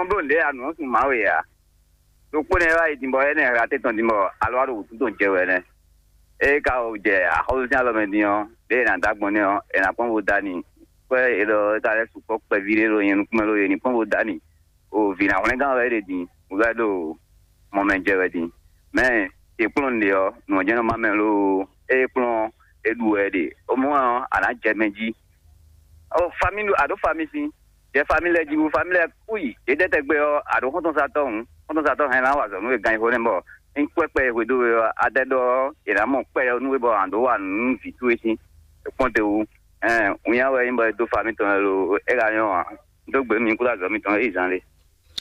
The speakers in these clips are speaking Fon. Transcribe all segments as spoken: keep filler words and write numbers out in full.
Bó nǔɖé anu ɔ́ sun Mawu ǎ. Ɖokpó nɛ́ wá yi din bɔ énɛ́ hla tɛ́ tɔn din bɔ alɔ wá ɖo wǔtú tɔn jɛ wɛ nɛ́. Ée ka o jɛ axɔ́sú sín alɔ mɛ din ɔ́, ɖěe è nǎ dó agbɔn nɛ́ ɔ́, è nǎ kpɔ́n bó dá n'i. Kwɛ́ è ɖɔ é ka lɛ́ sukpɔ́ kpɛví ɖé ɖo nyɛ nukún mɛ ló, è ní kpɔ́n bó dá n'i. O vǐ ná hwlɛ́ngán wɛ é ɖe din, wǔ wɛ ɖo mɔ mɛ jɛ wɛ din. Mɛ è kplɔ́n nǔɖé ɔ́, nǔ ɔ́ jɛ́n nɔ má mɛ loo. Ée kplɔ́n ɔ́, é ɖu wɛ é ɖe. O mɔ ɔ́, a nǎ jɛ mɛ jí. O fami ɖo a ɖǒ fami sín. Jɛ fami lɛ́ɛ jí wú, fami lɛ́ɛ kú yi. Yě jɛ tɛgbɛ ɔ́, a ɖǒ xɔ́ntɔn satɔ́ hǔn, xɔ́ntɔn satɔ́ hɛn ná wa azɔ̌ nú we gan xo nɛ́ bɔ é kpɛ́ kpɛ e hwedó we ɔ́, a dɛ ɖɔ ɔ́, è nǎ mɔ kpɛ́ ɔ́ nú we bɔ a ɖǒ wa nǔ nú vǐ towe sín. É kpɔ́n te wú. Ɛn, winnyá wɛ é nyí bɔ é dó fami tɔn wɛ lo, é ka nyɔ́ ǎ. Dó gbe mi kúɖó azɔ̌ mitɔn é yi zan lé.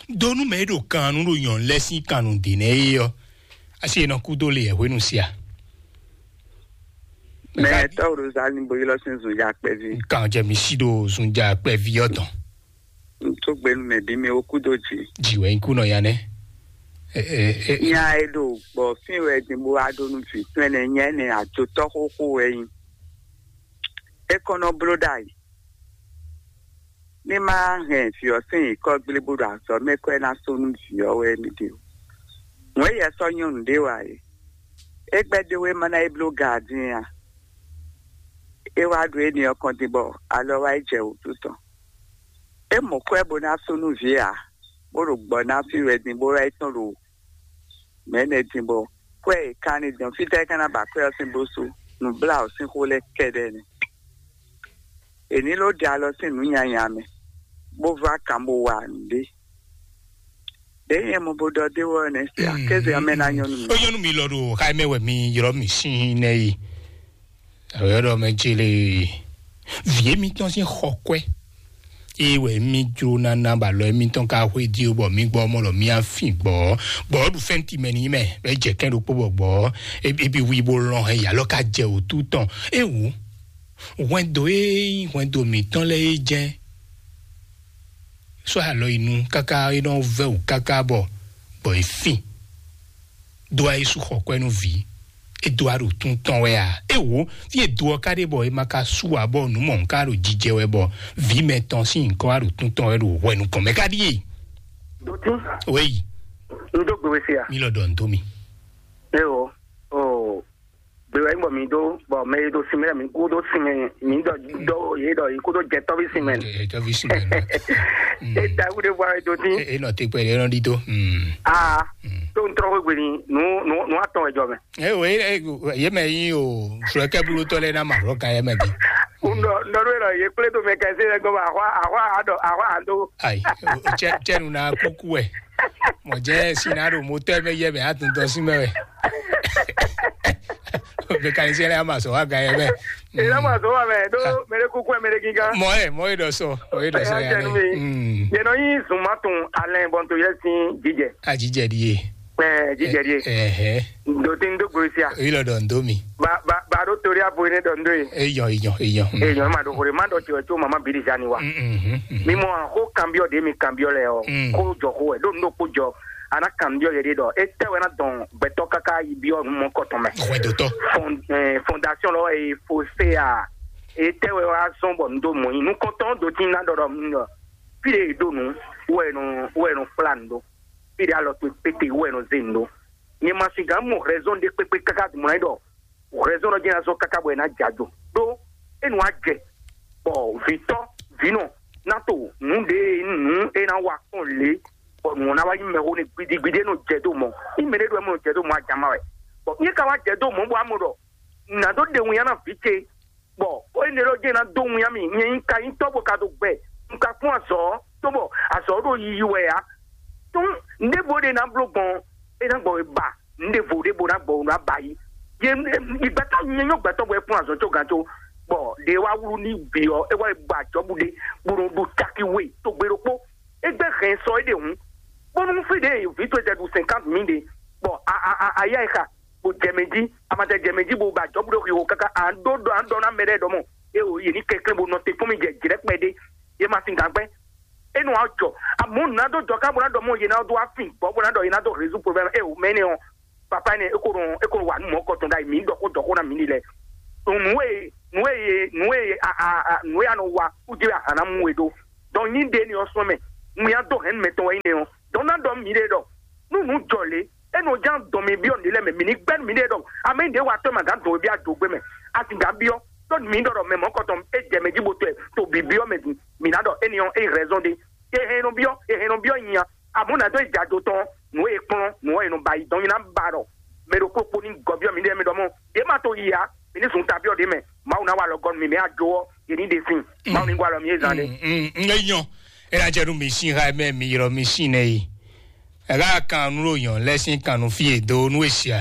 Dó nú mɛ e ɖo kan nú ɖo nyɔ̌nu lɛ́ɛ sín kan nǔ ɖe nɛ́ é ɔ́, asi e nɔ kú dó le yɛ hwenu sia. Mɛ tɔ́ ɖo zani bo ylɔ́ sín zunja kpɛví. Kan jɛ mi sí ɖo zunja kpɛví ɔ́ tɔn. N tó gbenu mɛ bí mi ó kú dó jì. Jì wɛ nyí kú nɔ ya nɛ́. Nya e ɖo gbɔ fín wɛ din bó wá ɖó nú vǐ tɔn ɛnɛ nya ɛnɛ ajotɔ́ xóxó wɛ nyí. É kɔn nɔ bló ɖ'ayǐ. Ní má hɛn vǐ ɔ́ sín nyǐkɔ gblé bó ɖo azɔ̌ mɛ kɔ é ná sú nú vǐ ɔ́ wɛ mì ɖe o. Wɛ̌n yɛ sɔ́ nyɔ́nu ɖé wá é. É gbɛ́ dó wéma ná é bló gaadín a? É wá ɖo éní ɔ́ kɔn din bɔ alɔ wá yi jɛ wǔtu tɔn. É mɔ kwɛ́ bó ná sú nú vǐ ǎ, bó ɖo gbɔ ná fí wɛ din bó wá yi tɔn ɖo mɛ̌ nɛ́ din bɔ kwɛ́ e ka ní din ɔ́, fítɛ́ é ka ná ba kwɛ́ ɔ́ sín bó sú? Nǔbláwǔ sín xó lɛ́ɛ kɛ́ɖɛ́ nɛ́. È ní ló ɖe alɔ sín nǔ nyanya mɛ, bó vá kan bó wa nǔɖé. Ɖěe nyɛ mɔ bó ɖɔ dé wɔ nɛ́ se akéze ɔ́ mɛ ná nyɔ́ nú mi. Ó nyɔ́ nú mi lɔ ɖo xa mɛ wɛ mi ylɔ́ mi sín nɛ́ yi. Awě ɖɔ mɛ ce lé vǐ émítɔn sín xɔ kwɛ́. Ée wɛ mí jló ná ná bɔ alɔ émítɔn ka xwedí ó, bɔ mí gbɔ mɔ ɖɔ mí á fin gbɔ̌. Gbɔ̌ ɖu fɛ́nti mɛ ní mɛ, bɔ é jɛ kɛ́n ɖokpó bɔ gbɔ̌ é bí wi bó lɔn hɛn yi alɔ ka jɛ wǔtu tɔn. É wǔ hwɛndo e nyí hwɛndo mǐtɔn lɛ́ɛ é jɛ́n sɔ́ alɔ yi nu káká é nɔ vɛ́ wǔ káká bɔ gbɔ é fin. Dó wá Yísu xɔ kwɛ́ nú vǐ. É dó wá ɖo tún tɔn wɛ a? É wǒ, fí e do ɔ́ ka ɖe bɔ è ma ka sú ǎ bɔ nǔ mɔ̌ ká ɖo jijɛ wɛ bɔ vǐ mɛtɔn sín nyǐkɔ wá ɖo tún tɔn wɛ ɖo hwɛ nukɔn mɛ ká ɖíe. Dotí, Wéyi, un dó gbe we se a? Mi lɔ ɖɔ nǔ dó mi. Eo, o, gbe wɛ bɔ mi dó, bɔ mɛ e ɖo sin mɛ mi kú ɖó sin mɛ, mi dɔ dɔ ye dɔ yi kú ɖó jɛ tɔbi sin mɛ. Jɛ tɔbi sin mɛ. E da wu de bɔ e dotí. E nɔ te kpɛ de nɔ ɖi tó. Aa, tó n trɔ wegbe ni nu nu nu atɔn wɛ jɔ mɛ. Ɛ o ye mɛ yi o sɔlɔkɛ bulutɔ lɛ na ma lɔ ka yɛ mɛ bi. Ndɔ ndɔ ɖo yɛ ye kple to mɛ kɛse lɛ gɔmɔ ahwa ahwa adɔ ahwa ado. Ayi, cɛnu na kuku wɛ. Mɔ jɛ sina ɖo motɔ mɛ yɛ mɛ atundɔ si mɛ wɛ. Mekanisiyɛn lɛ ama sɔ wa ga yɛ mɛ. Ela ma sɔ wa mɛ do mɛ de kuku mɛ de gigan. Mɔ ye mɔ ye dɔ sɔ mɔ ye dɔ sɔ ya lɛ. Yɛnɔ yi zun ma tun alɛ bɔn to yɛ sin jijɛ. Ajijɛ di ye. Ɛɛ jijɛ di ye. Ɛhɛ. Ndo ti n do gbe sia. Eyi lɔ dɔ n do mi. Ba ba ba do tori abo ne dɔ n do ye. Eyɔ eyɔ eyɔ. Eyɔ ma do hore ma dɔ tiwɛ tso mama biri zani wa. Mi mɔ ko kanbiɔ de mi kanbiɔ lɛ ɔ ko jɔ ko wɛ do n do ko jɔ. Ana kanbiɔ yɛ de dɔ e tɛ wɛ na dɔn gbɛtɔ kaka yi biɔ nu mɔ kɔtɔn mɛ. Hwɛdotɔ. Fondation lɔ e fose a e tɛ wɛ wa zɔn bɔ n do mɔ yi nukɔntɔn do ti na dɔ dɔ mi dɔ fi de do nu wɛ nu wɛ nu kpla n do. Fi de alɔ kpekpete wɛ nu ze n do. Nyɛ ma si gan mɔ raison de kpekpe kaka dumɔ na yi dɔ raison dɔ jɛ na zɔ kaka bɔ e na ja jo do e nu a jɛ bɔ vitɔ vinɔ na to nu de nu e na wa kɔn le bɔ nu na wa yi mɛ ho ne gbidigbidi e nɔ jɛ do mɔ yi mɛ de do e mɔ jɛ do mɔ a jama wɛ bɔ yi ka wa jɛ do mɔ bɔ a mɔ dɔ na do de ŋu ya na vi ce bɔ o yi ne dɔ jɛ na do ŋu ya mi nyɛ yi ka yi tɔ bɔ ka do gbɛ n ka kún azɔ to bɔ azɔ do yiyi wɛ ya tún ne bo de na blo gbɔn e na gbɔ e ba n de vo de bo na gbɔ o na ba yi ye igbata nyɛ nyɔ gbɛtɔ bɔ e kún azɔ tso gan tso bɔ de wa wlu ni bi ɔ e wa ba jɔ bu de bo no do caki we to gbe ɖokpo egbe hɛn sɔ e de hun bɔnu fi de vi to ɛtɛ du cinquante mille de bɔ a a a a ya e xa bo jɛ mɛ jí a ma tɛ jɛ mɛ jí bo ba jɔ bu ɖo xixo kaka a ɖo ɖɔ a ɖɔ na mɛ ɖe ɖɔ mɔ e o ye ni kɛnklɛn bo nɔ te fún mi jɛ jrɛ kpɛ de ye ma sin gan gbɛ e nɔ wa jɔ amu na do jɔ ká bo na ɖɔ mɔ ye na do wa fin gbɔ bo na ɖɔ ye na do résoudre problème e o mɛ ne o papa ne e ko nɔ e ko nɔ wa nu mɔ kɔtɔn da mi dɔ ko dɔ ko na mi ni lɛ nu e nu e nu e a a a nu e a nɔ wa kudi a hana mu e do donc nyi de ni o sɔn mɛ nu ya do hɛn mɛ tɔn wa yi ne o ɖe ɖɔ nú nǔ jɔ lě, é nɔ ján dɔn mi byɔ́ nǔɖé lɛ́ɛ mɛ, mǐ ní gbɛ́ nú miɖée ɖɔ amɛ ɖě wa tɔ́ ma gǎn dɔn e byɔ́ adǒgbé mɛ. A sixú gǎn byɔ́ ɖó mǐ ɖɔ ɖɔ mɛ mɔ̌kɔtɔn é jɛ mɛ jí bo tɔ́ ɛ to bǐ byɔ́ mɛ din. Mǐ ná ɖɔ éni ɔ́ é rɛzɔn ɖé. È hɛn nɔ byɔ́, è hɛn nɔ byɔ́ nyi a. Amɔ̌ ná dó yi jɛ ado tɔn nǔ e kplɔ́n nǔ ɔ́ è nɔ ba yi dɔn nyi ná ba ɖɔ mɛ ɖokpó kpó ní gɔ́ byɔ́ miɖée mɛ ɖɔ mɔ yě ma to yi ǎ. Mǐ ní zun ta byɔ́ ɖě mɛ. Mawu ná wa alɔgɔ́ nú mi mɛ ajo ɔ́, yě ní ɖe sin. Mawu ní gɔ́ alɔ mi é zán ɖé. Mm, mm, mm, é nyɔ. É ná jɛ nú mi sín xá mɛ mi ylɔ́ mi sín nɛ yi. Ɛ ká kan nú ɖo nyɔ lɛ́ sín kan nú fí e dó nú e sia.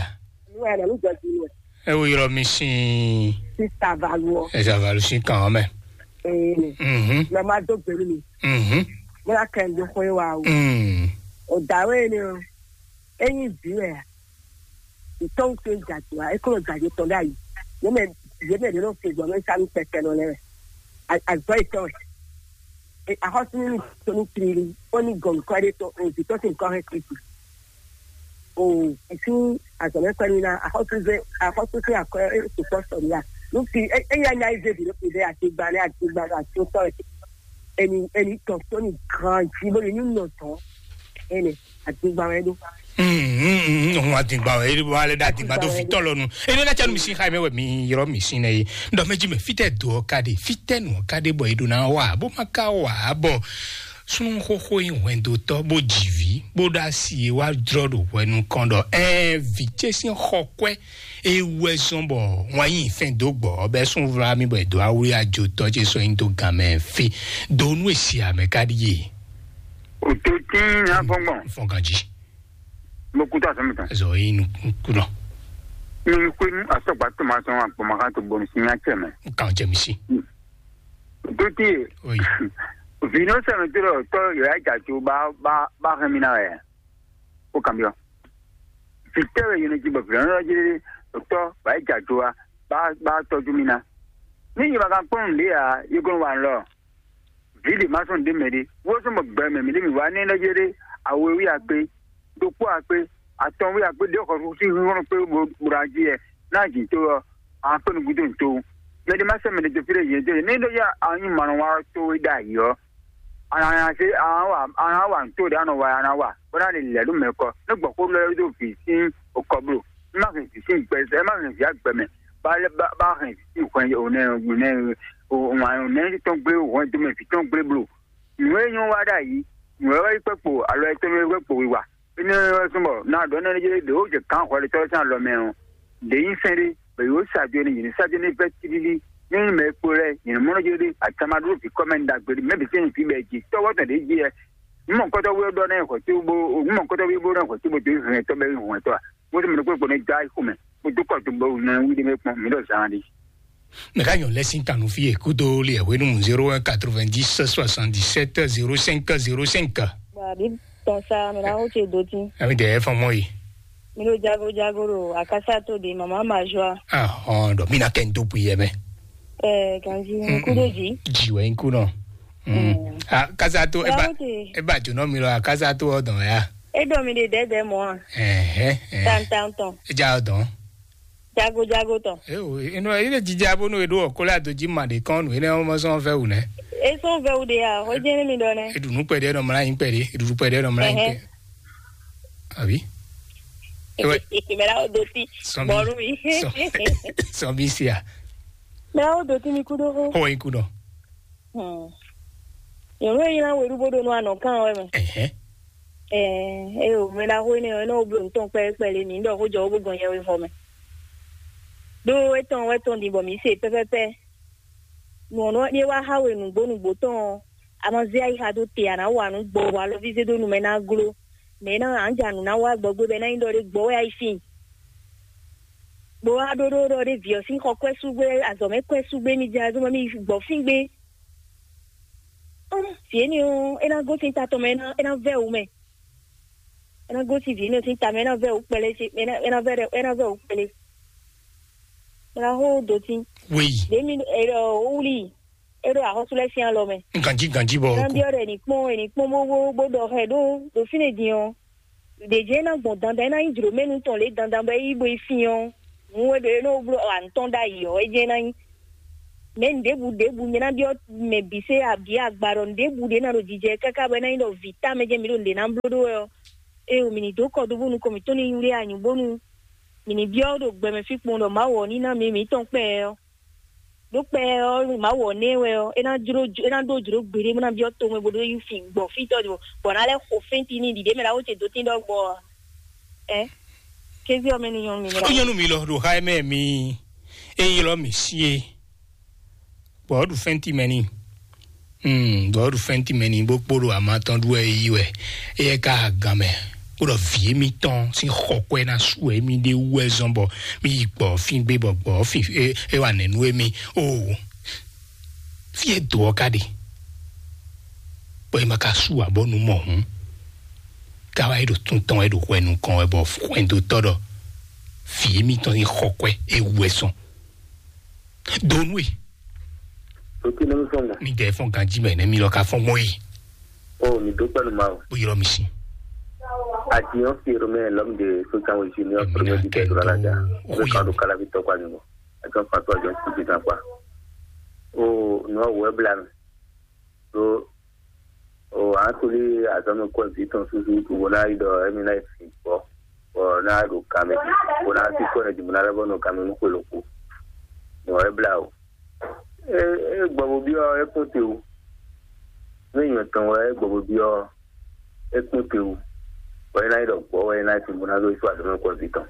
Nú ɛ nɔ ní jɔ jí nú ɛ. É wo ylɔ́ mi sín. Sista Valu ɔ. Ɛ zavalu sín kan ɔ́ mɛ. Ee. Mhm. Lɔ ma dó gbèrú mi. Mhm. Mo ná kɛ ndo xwe wa o. Mm. O dǎwe ne o. Enyi vǐ wɛ a? Ìtɔ́wù tó jàdùá, é kó lɔ jàdé tɔn ɖ'ayǐ. Yě mɛ yě mɛ ɖě nɔ se gbɔn mɛ sá nú kpɛkɛ nɔ lɛ́ɛ wɛ. Azɔ̌ yětɔn wɛ. Axɔ́súnú ní tó ní tlílí, ó ní gɔn nǔkɔ ɖé tó, òbí tó sì nǔkɔ hɛn Kristi. O ìsú azɔ̌mɛkpɛ́ ní ná axɔ́súzé axɔ́súzé akɔ é sukpɔ́ sɔ ní a. Nú fi é é yá nya é zé bǐ ɖó fi ɖé àti gba ní àti gba ní àti ó tɔ́ ɛ. Eni eni tɔn tó ní gan jí bó ní ní nɔ tɔn. Ene àti gba wɛ ɖó. Òun àtìgbà ẹ̀ ẹ̀ wà lẹ́dá àtìgbà tó fi tọ́ lọ́nu. Ene na canu mi si xa mɛ wɛ mi yɔrɔ mi si nɛ ye. Dɔ mɛ ji mɛ fitɛ do ɔ ka de fitɛ nu ɔ ka de bɔ eɖo na wa bó ma ka wa bɔ sunu xoxo yi hwɛndo tɔ bó dzi vi bó ɖo asi e wa drɔ ɖo hwɛ nukɔn dɔ ɛ vi ce sin xɔ kwɛ e wɛ zɔn bɔ wọn yi fɛn do gbɔ ɔbɛ sun vla mi bɔ edo awu ya jo tɔ ce sɔ yin do gan mɛ fi do nu esi amɛ ka di ye. O to tin na gbɔngbɔn. Fɔn ganji. Mo kú tó àsán mi tán. Zɔ yi nu kú nɔ. Mi kú inú asɔgba tó ma sɔn agbɔnmakan tó bɔnu sí nya cɛ mɛ. N kàn jẹ mi sí. Tó tí ye. Oyi. Vino sɛmɛ tó lɔ tɔ yɔ ya jà tó bá bá bá hɛn mi na wɛ. O kàn bí ɔ. Fitɛ wɛ yɛn ti bɔ vino lɔ jẹ tɔ bá jà tó wa bá bá tɔjú mi na. Ní yìí ma kan kpɔn lé ya yókùn wà lɔ. Vǐ ɖě ma sɔn ɖě mɛ ɖé. Wó sɔn bɔ gbɛ mɛ mǐ ɖé mǐ wá ní ɛnɛ́ jɛ ɖé awe wí akpé, ɖokpó akpé, atɔn wí akpé ɖé xɔ sí hínhɔ́n kpé bó ɖo ají yɛ ná jǐ tó ɔ́, a kpé nukún tó nǔ tó. Mɛ ɖé ma sɛ́ mɛ ɖé dó fí ɖé yě dó yě. Ní ɖó yá a nyí mǎ nɔ wá tó é ɖ'ayǐ ɔ́, a nǎ se a nǎ wa a nǎ wa nǔ tó ɖě a nɔ wa a nǎ wa bó ná lè lɛ̌ ɖó mɛ kɔ. Ní gbɔ̌ xó lɛ́ ɖó vǐ sín okɔ bló. Má hɛn vǐ sín gbɛ ɛ má hɛn vǐ agbɛ mɛ. Bá lɛ́ bá bá hɛn vǐ sín hwɛn ònɛ ònɛ ònɛ tɔn gblé hwɛn dó mɛ vǐ tɔn gblé bló. Nǔ e nyɔ́ wá ɖ'ayǐ, nǔ e wá yi kpɛkpo alɔ etɔn e kpɛkpo wiwa. Énɛ́ wɛ súnbɔ ná ɖɔ énɛ́ ɖé ɖě wó jɛ kǎn hwɛɖetɔ́ sín alɔ mɛ ɔ́, ɖě nyí sɛ́n ɖé, bɔ yě wó sa jo n'i, yě ní sa jo n'i vɛ́ tílílí. Ní mɛ e kpo lɛ́ɛ, yě ní mɔ nɔ jó ɖé, atama ɖó vǐ kɔ́ mɛ ɖagbe ɖé, mɛ bǐ sɛ́n nyí fí bɛɛ jí, tɔ́wɔ́ tɔn ɖě jí wɛ. Nǔ mɔ̌kɔ́tɔ́ wú é ɖɔ ná nyɛ xɔ tí bó, nǔ mɔ̌kɔ́tɔ́ wú é bó ná nyɛ xɔ tí bó dó hɛn tɔ́ bɛ́ hɛn tɔ́ a. Bó tɔ́ mɛ ɖokpó kpo ní dó ayǐ xomɛ, bó dó kɔ dó bó ná wí ɖé mɛ kpɔ́n, mǐ ɖɔ zán ɖé. Mɛ ka nyɔ lɛ sin kanu fi e kudo li e hwenu zéro un quatre-vingt-dix soixante-dix-sept zéro cinq zéro cinq. Bɔ àbí tɔn sa mi na wo ce do tin. Ami de fɔn mɔ yi. Mi ɖo jago jago ɖo akasa to de mama ma joa. Ah, hɔn dɔ mi na kɛ n to pui yɛ mɛ. Ɛ ganji n kudo ji. Ji wɛ n ku nɔ. Mm. Ah, kasa to e ba Yawo te. E ba jo nɔ mi lɔ kasa to ɔ dɔn ya. E dɔ mi de dɛdɛ mɔ a. Ɛhɛ. Tan tan tɔn. E ja ɔ dɔn. Jago jago tɔn. Ewo, inu ene jija bonu eɖo ɔkɔlɛ adoji ma ɖe kɔn nu ene ɔmɔ sɔn fɛ wu nɛ. E sɔn fɛ wu de ya, o jɛ ne mi dɔ nɛ. Eɖu nu kpɛɖe nɔ mla yin kpɛɖe, eɖu kpɛɖe nɔ mla yin kpɛ. Abi. Ewe. Mɛ la o do ti. Sɔn bi. Bɔlu mi. Sɔn bi sia. Mɛ la o do ti mi kudo ho. Ho yin kudo. Hmm. Yɔnɔ yi na weɖu bo ɖo nɔ anɔ kan wɛ mɛ. Ɛhɛ. Ɛɛ, eyo, mɛ ɖaxó énɛ́ ɔ́, é nɔ bló nǔ tɔn kpɛ́kpɛ́ lé mǐ ɖɔ xó jɔ wó bó gɔn yɛwexɔ mɛ. Ɖó étɔn wɛ tɔn din bɔ mǐ se pɛ́pɛ́pɛ́. Nǔ ɔ́ nɔ ɖe wá xá we nǔgbó nǔgbó tɔn ɔ́, a ma zé ayixa dó te, a nǎ wa nǔ gbɔ bɔ alɔví zé dó nu mɛ ná gló. Mɛ é ná ǎ ja nǔ ná wá gbɔgbé bɔ é ná nyí ɖɔ ɖé gbɔ wɛ a yi sin. Bó wá ɖó ɖó ɖɔ ɖé vǐ ɔ́ sín xɔ kwɛ́ sú gbé, azɔ̌ mɛ kwɛ́ sú gbé, mi jɛ azɔ̌ mɛ mi gbɔ fín gbé. Ɔ́n, vǐ énɛ́ ɔ́, é ná gosín ta tɔn mɛ, é ná é ná vɛ́ wǔ mɛ. É ná gosín vǐ énɛ́ sín ta mɛ, é ná vɛ́ wǔ kpɛlɛ, é ná é ná vɛ́ é ná vɛ́ wǔ kpɛlɛ. É ná xó dǒtín. Wéyi. Ɖě mi ɛ ɔ wúlí, é ɖo axɔ́sú lɛ́ɛ sín alɔ mɛ. Ganjí ganjí bɔ. É ná byɔ́ ɖɔ è nǐ kpɔ́n è nǐ kpɔ́n bó bó bó ɖɔ xɛ ɖó ɖo fínɛ́ din ɔ́. Ɖě jɛ́n é ná gbɔn dandan, é ná nyí jlǒ mɛ nú tɔn lě dandan bɔ é yí bo yi sin ɔ́. Nǔ e ɖo é nɔ bló ɔ, à ń tɔ́n ɖ'ayǐ ɔ́, é jɛ́n é ná nyí. Mɛ ɖěbǔ ɖěbǔ nyɛ ná byɔ́ mɛ bǐ sé abǐ agba ɖɔ nǔɖébǔ ɖě ná ɖo jijɛ káká bɔ é ná nyí ɖɔ vǐ támɛ jɛ́n mǐ ɖo nǔɖé ná bló ɖó wɛ ɔ́. ée mi ní dó kɔ dó bónú kɔ mǐtɔn ní nyí wlé anyǔ bónú mi ní byɔ́ ɖo gbɛmɛ fí kpɔ́n ɖɔ Mawu ɔ́ ní ná mɛ mǐtɔn kpɛɛ ɔ́. Ɖó kpɛɛ ɔ́, Mawu ɔ́ nɛ́ wɛ ɔ́, é ná jló é ná ɖó jlǒ gbeɖé bó ná byɔ́ tomɛ bó ɖó yi fi gbɔ fítɔ́ ɖi bɔ ná lɛ́ xo fɛ́ntin ní ɖiɖě mɛ ɖaxó ce dó tín ɖɔ gbɔ ɔ́. Ɛ kéze ɔ́ mɛ ní nyɔ́ nú mi mɛ ó ɖaxó. Nyɔ́ nú mi lɔ ɖo xá ɛ mɛ mi é ylɔ́ mì sí é, bɔ ɔ́ ɖu fɛ́ntin mɛ n'i. Hmm, bɔ ɔ́ ɖu fɛ́ntin mɛ n'i bó kpo ɖo ama tɔn ɖu wɛ é yí wɛ. Éyɛ́ ka ha gan mɛ bó ɖɔ vǐ émítɔn sín xɔkwɛ́ ná su wɛ émí ɖé wú wɛ zɔ́n bɔ mí yi gbɔ̌ fín gbé bɔ gbɔ̌ fín é é wa nɛ̌ nú émí. Oo, fí e do ɔ́ ka ɖe, bɔ é ma ka sú ǎ bɔ nǔ mɔ hǔn, ká wá é ɖo tún tɔn wɛ ɖo hwɛ nukɔn wɛ bɔ hwɛndotɔ́ ɖɔ vǐ émítɔn sín xɔkwɛ́ é wú wɛ zɔ́n. Donu e Ɖo kí nɔ́ fɔ́n gǎn. Mi dɛ fɔ́n ganjí mɛ nɛ́ mi lɔ ka fɔ́n gbɔn yi. Ó, mi dó pɛ́lú ma o. Bó ylɔ́ mi sí. Ati ɔ́ fi ero mɛ lɔm de sókan wɛ si ní ɔ́ Èmi pẹ̀lú náà ti tẹ̀ kẹ́ dúró dó alájà. Ó Ó yẹ kan do kálábí tɔkwa nyɔmɔ. Ɛ kan fa tó àjọ kúti kan pa. Ó, nɔ wɛ bla mi. Ɖó o atoli azɔ̌mɛ kɔ vǐ tɔn súsú bó ná yi ɖɔ émí ná yi fi gbɔ bɔ ná ɖo kanmɛ bó ná sí kɔ ɛ dìbò ná lɛ́ bɔ nɔ kanmɛ nú xwe loko. Nɔ é bla o. É é gbɔ bo byɔ́ é kpɔ́n te o. Nú nyɔ tɔn wɛ é gbɔ bo byɔ́ é kpɔ́n te o. Bɔ é ná yi ɖɔ gbɔ wɛ é ná yi fi bó ná ɖó yi sú azɔ̌mɛ kɔ vǐ tɔn.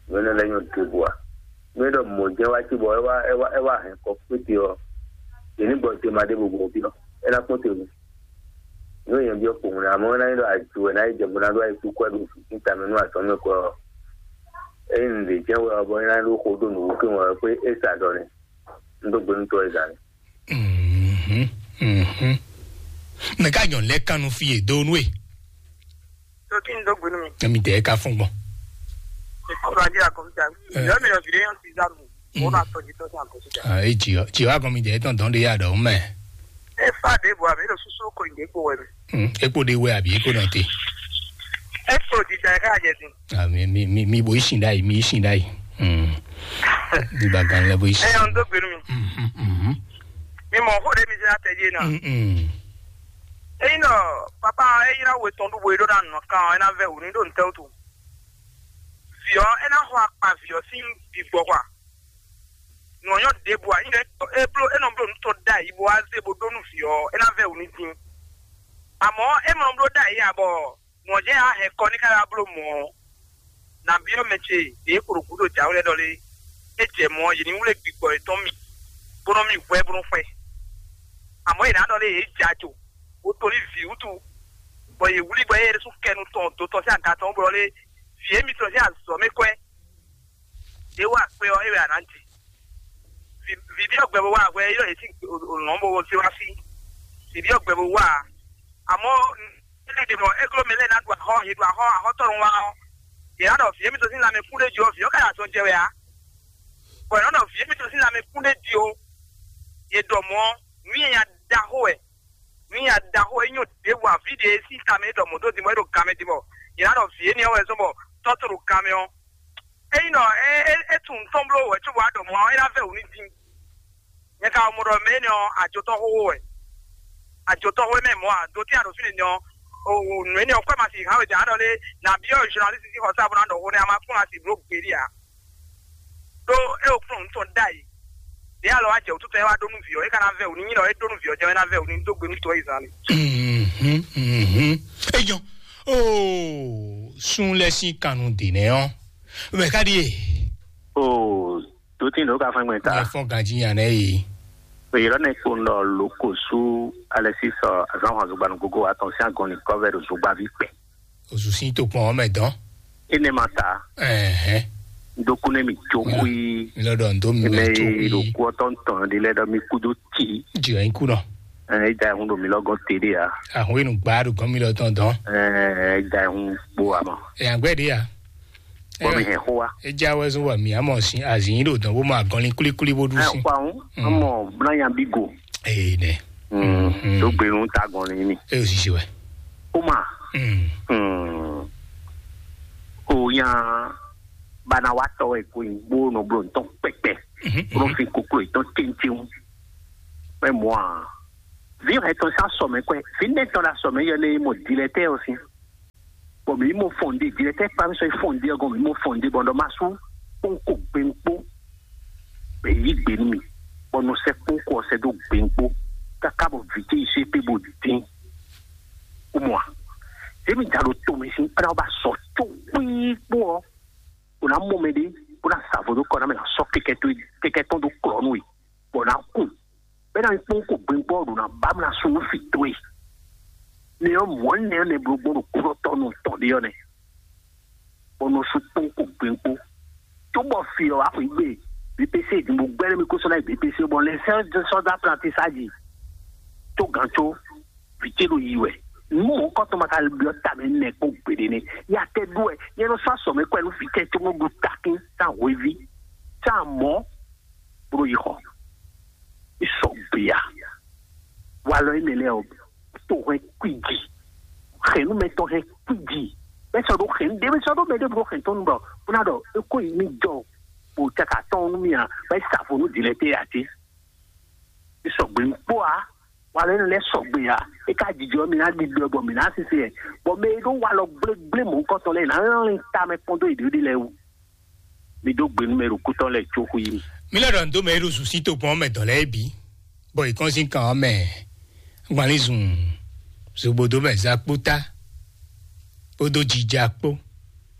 Nú é ná lɛ́ nyɔ te bó a. Nú é ɖɔ mɔ̌ jɛ́n wá cí bɔ é wá é wá é wá hɛn kɔ kpéte ɔ́, yě ní gbɔ tema ɖěvo gbɔn fí ɔ́, é ná kpɔ́n te nu. Nú èèyàn byɔ́ kpowun ná mɔ é ná nyí ɖɔ aju wɛ ná yi jɛ bó ná ɖó ayikúkú wɛ ɖo fífín tamɛ nú azɔ̌mɛ kɔ ɔ́, ényí nǔɖé jɛ́n wɛ ɔ́, bɔ é ná ɖó xo ɖó nǔwúkɛ́n wɛ ɔ́, xwé é sa ɖɔ nɛ́. Un dó gbe nú tɔ́ é gǎn. Mhm, mhm. Mɛ ká nyɔ̌nu lɛ́ɛ kan nú fí e dó nú e. Tó kí n dó gbe nú mi. Emi tɛ ká fún gbɔn. Ìkọlù ajé àkọsíjà. Ẹ. Ìyá mi lọ sí léyàn sí ìzánu. Mm. Wọn náà tọjú tọjú àkọsíjà. Ah, e jì ọ jì ọ agọn mi jẹ tán dán de yà dọ mẹ. Ẹ fà dé bò àmì lọ súsú kò ìdè kò wẹ̀ mi. Mm, epo de wẹ àbí epo náà te. Ẹ kò dìjà ẹ ká jẹ dín. Ah, mi mi mi mi bo isin dai mi isin dai. Mm. Nígbà gan lẹ bo isin. Ẹ yàn ń dó gbe nú mi. Mhm, mhm. Mi mọ̀ kó de mi ṣe àtẹ̀jé náà. Mm, mm. Eyi nɔ papa eyi na we tɔn ɖu bo yi ɖo na nɔ kan ɔ ena vɛ wǔ ni ɖo ntɛ wutu. Vǐ ɔ ena xɔ akpa vǐ ɔ sín bi gbɔ xɔ a. Nɔ nyɔ ɖe bu a nyɛ e blo enɔ blo nutɔ da yi bo aze bo ɖo nu vǐ ɔ ena vɛ wǔ ni din. Amɔ e mɔ blo da yi a bɔ nɔ jɛ a hɛn kɔ ni ka ya blo mɔ ɔ. Na byɔ́ mɛ ce ɖě e kpo ɖo gǔdo jǎwe lɛ́ɛ ɖɔ lé, é jɛ mɔ̌ ɔ́, yě ní wlé gbigbɔ yětɔn mì, bó nɔ́ mì hwɛ bó nɔ́ xwɛ. Amɔ̌ yě ná ɖɔ lé yě jɛ ajo, bó to ní vǐ wútu, bɔ yě wlí bɔ é ɖésú kɛ nu tɔn dó tɔn sín aga tɔn bó ɖɔ lé, vǐ émitɔn sín azɔ̌ mɛ kwɛ́. Đě wa kpé ɔ́, é wɛ a nǎ ji. Vǐ vǐ byɔ́ gbɛ bó wá hwɛ é ɖɔ yě sín lɔ̌n bó zé wá fí. Vǐ byɔ́ gbɛ bó wá. Amɔ̌, é lɛ́ ɖe mɔ é gló mɛ lɛ́ɛ ná ɖu axɔ́, yě ɖu axɔ́, axɔ́tɔ́ nɔ wá ɔ́, yě ná ɖɔ vǐ émítɔn sín lanmɛ kún ɖé jí ɔ́, vǐ ɔ́ ka ɖo azɔn jɛ wɛ ǎ. Bɔ yě nɔ ɖɔ vǐ émítɔn sín lanmɛ kún ɖé jí ó, yě ɖɔ mɔ̌, nǔ nyanya ɖaxó wɛ, nǔ nyanya ɖaxó wɛ, é nyɔ ɖěbǔ ǎ, vǐ ɖě sín tamɛ é ɖɔ mɔ̌ dó din bɔ é ɖo gan mɛ din bɔ yě ná ɖɔ vǐ énɛ́ ɔ́ wɛ zɔ́n bɔ tɔ́ to ɖo gan mɛ ɔ́. Ényí ɖɔ é é é tunwun tɔn bló wɛ cóbɔ wá ɖɔ mɔ̌ ɔ́, é ná vɛ́ wǔ n'i din. Nyɛ ka mɔ ɖɔ mɛ énɛ́ ɔ́, ajotɔ́ xóxó wɛ. Ajotɔ́ xó mɛ mɔ̌ ǎ, do tɛ́ a ɖo fínɛ́ nɛ́ ɔ́, o o nǔ énɛ́ ɔ́, kwɛ́ ma si hǎn we jǎ ɖɔ lé, nǎ byɔ́ zɔnalísi sín xɔsá bó ná ɖɔ xó nɛ́ a ma kún asi bló gbeɖé ǎ. Ɖó é o kplɔ́n nǔ tɔn ɖ'ayǐ. Ɖě alɔ wá jɛ wǔtútɔ é wá ɖó nú vǐ ɔ́, é ka ná vɛ́ wǔ n'i, nyí ɖɔ é ɖó nú vǐ ɔ́ jɛ́n é ná vɛ́ wǔ n'i dó gbe nú tɔ́ Izlayɛ́li. Mhm, mhm. É nyɔ́. Oo, sun lɛ́ sín kannú dě nɛ́ ɔ́, mɛ ká ɖíe. Oo, dǒtín ɖǒ ka fɛn gbɛn ta. Mɛ fɔ́n ganjí nya nɛ́ e. Èyí lɔ nɛ kpo nɔ loko sú alɛ sísɔ azán hɔn zogba nú gogo atɔn sín agɔn ní kɔ́vɛ ɖo zogbaví kpɛ. Ozu sín tokpɔn ɔ́ mɛ dɔn. Énɛ́ ma ta. Ɛhɛn. Dokúnɛ mi jó xwí. Mi lɔ ɖɔ ndo mi Eme ma jó yi ɖo xwí. Kú ɔtɔn tɔn ɖi lɛ ɖɔ mi kú dó tì. Jì ɛ kú nɔ. Ɛ da ehun ɖo mi lɔ gɔn te ɖe ya. Ahun enu gba ɖo gɔn mi lɔ tɔn dɔn. Ɛ da ehun kpo amɔ. Ɛ agbɛ ɖe ya. Bɔ mi hɛn xó wa. Edza wɛ zɔn wa mi amɔ sin azin ɖo dɔn bó ma gɔnlin kulikuli bó ɖu Ɛ sin. Kpa ŋu. Amɔ blanyan bi go. Ee nɛ. Mm, mm. Dó gbe nu ta gɔnlin mi. E o sisi wɛ. Ó mà. Mm. Mm. Ó yàn bana wa tɔ ẹ kó yin gbó nɔ blo ntɔn pɛpɛ. Mhm, Bro mhm. Fi koklo itɔn tɛntɛn. Mɛ mɔ a. Vi hɛ tɔn sa sɔmɛ kɔɛ. Fi nɛ tɔn la sɔmɛ yɛ ne mɔ dilɛ tɛ o si. Bɔ mǐ mɔ fɔn ɖé, jlɛ tɛ kpa mi sɔ yi fɔn ɖé ɔgɔn, mǐ mɔ fɔn ɖé bɔ ɖɔ ma sú kpɔn ko gbɛn kpó bɛ yí gbɛ nú mi, bɔ nɔ sɛ kpɔn ko ɔsɛ dó gbɛn kpó kaka bɔ vǐ ce yi sɛ pé bó dín. Ó mɔ a? Emi da ɖo to mi sín kpla ba sɔ tó kpíkpó ɔ, o na mɔ mɛ ɖé, o na sa vo dó kɔ na mɛ na sɔ kɛkɛ tó kɛkɛ tɔn dó klɔ nú we, bɔ na kun bɛ na kpɔn ko gbɛn kpó ɔ ɖo na ba mla sún nú fi tó e. Ne ɔ mɔ ne ne blo gbɔn ɖo kúrɔtɔ nù tɔn ɖe ɔ nɛ. Bɔ nɔ sukpɔ́n ko gbɛ́ngbó. Cóbɔ fi ɔ́ wá xwǐ gbe, B P C din bó gbɛ́ nú mì kó sɔ́ ná yi B P C bɔ lɛ sɛ́ sɔ́ dó aprantisá jí. Tó gǎn có, vǐ ce ɖo yi wɛ. Nǔ mɔ̌hunkɔtɔn ma ka byɔ́ ta mɛ nɛ kpɔ́n gbeɖé nɛ́. Ya tɛ ɖó wɛ, nyɛ nɔ sɔ́ asɔ mɛ kɔ ɛ nú vǐ ce cóbó ɖu takín sín ahweví, sín amɔ̌, bó ɖo yi xɔ. Í sɔgbe a? Walɔ énɛ́ lɛ́ɛ ɔ́, to hɛn kwíji, xɛ̌númɛtɔ́ hɛn kwíji. Bɛ́ sɔ́ ɖó xɛ̌n ɖé, bɛ́ sɔ́ ɖó mɛ ɖěvo ɖó xɛ̌n tɔn nú bɔ é kó yi mì jɔ bó caka tɔn nú mì a, bɛ́ sa vo nú dǐlɛ́tɛ́ ǎ cé? É sɔgbe kpó a, walɔ énɛ́ lɛ́ɛ sɔgbe a, é ka jijɔ mì ná ɖiɖɔ bɔ mǐ ná sise ɛ, bɔ mɛ e ɖó walɔ gblégblé mɔ̌hunkɔtɔn lɛ́ɛ ná lɛ́n tamɛ kpɔ́n dó yěɖée lɛ́ɛ wú. Mi dó gbe nú mɛ ɖo kútɔ́ lɛ́ɛ có xwí mì. Mi lɔ ɖɔ nǔ dó mɛ e ɖo zǔsí tokpɔn ɔ́ mɛ dɔ̌n lɛ́ɛ bǐ, bɔ è kɔn sín kan ɔ́ mɛ gbanlín zun zogbodo mɛ zakpótá kpódó jija kpó.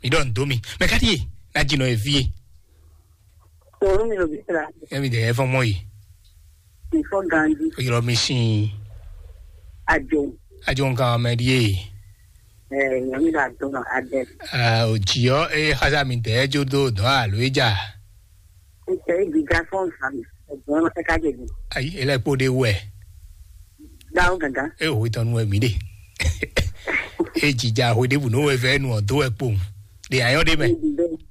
Mi ɖɔ nǔ dó mi. Mɛ ká ɖíe ná jinɔ e fí e? Tòun mi ɖo bísí la. Emi dɛ yɛ fɔn mɔ yi. Mi fɔ ganji. Yrɔ mi sin. Ajo. Ajo nkan mɛ ɖíe. Ɛ, nyɔmi la dɔn adɛ. Ah, o jiɔ e xasa mi dɛ jo do dɔn alo e ja. Ntɛ e gbiga fɔn nfa mi. Ɛgbọn ma tɛ ka jɛ bi. Ayi, ele kpo de wɛ. Dawo gangan. E o tɔnu wɛ mi de. E jija ho de bu no wɛ vɛ nu ɔ do wɛ kpo. De ayɔ de mɛ.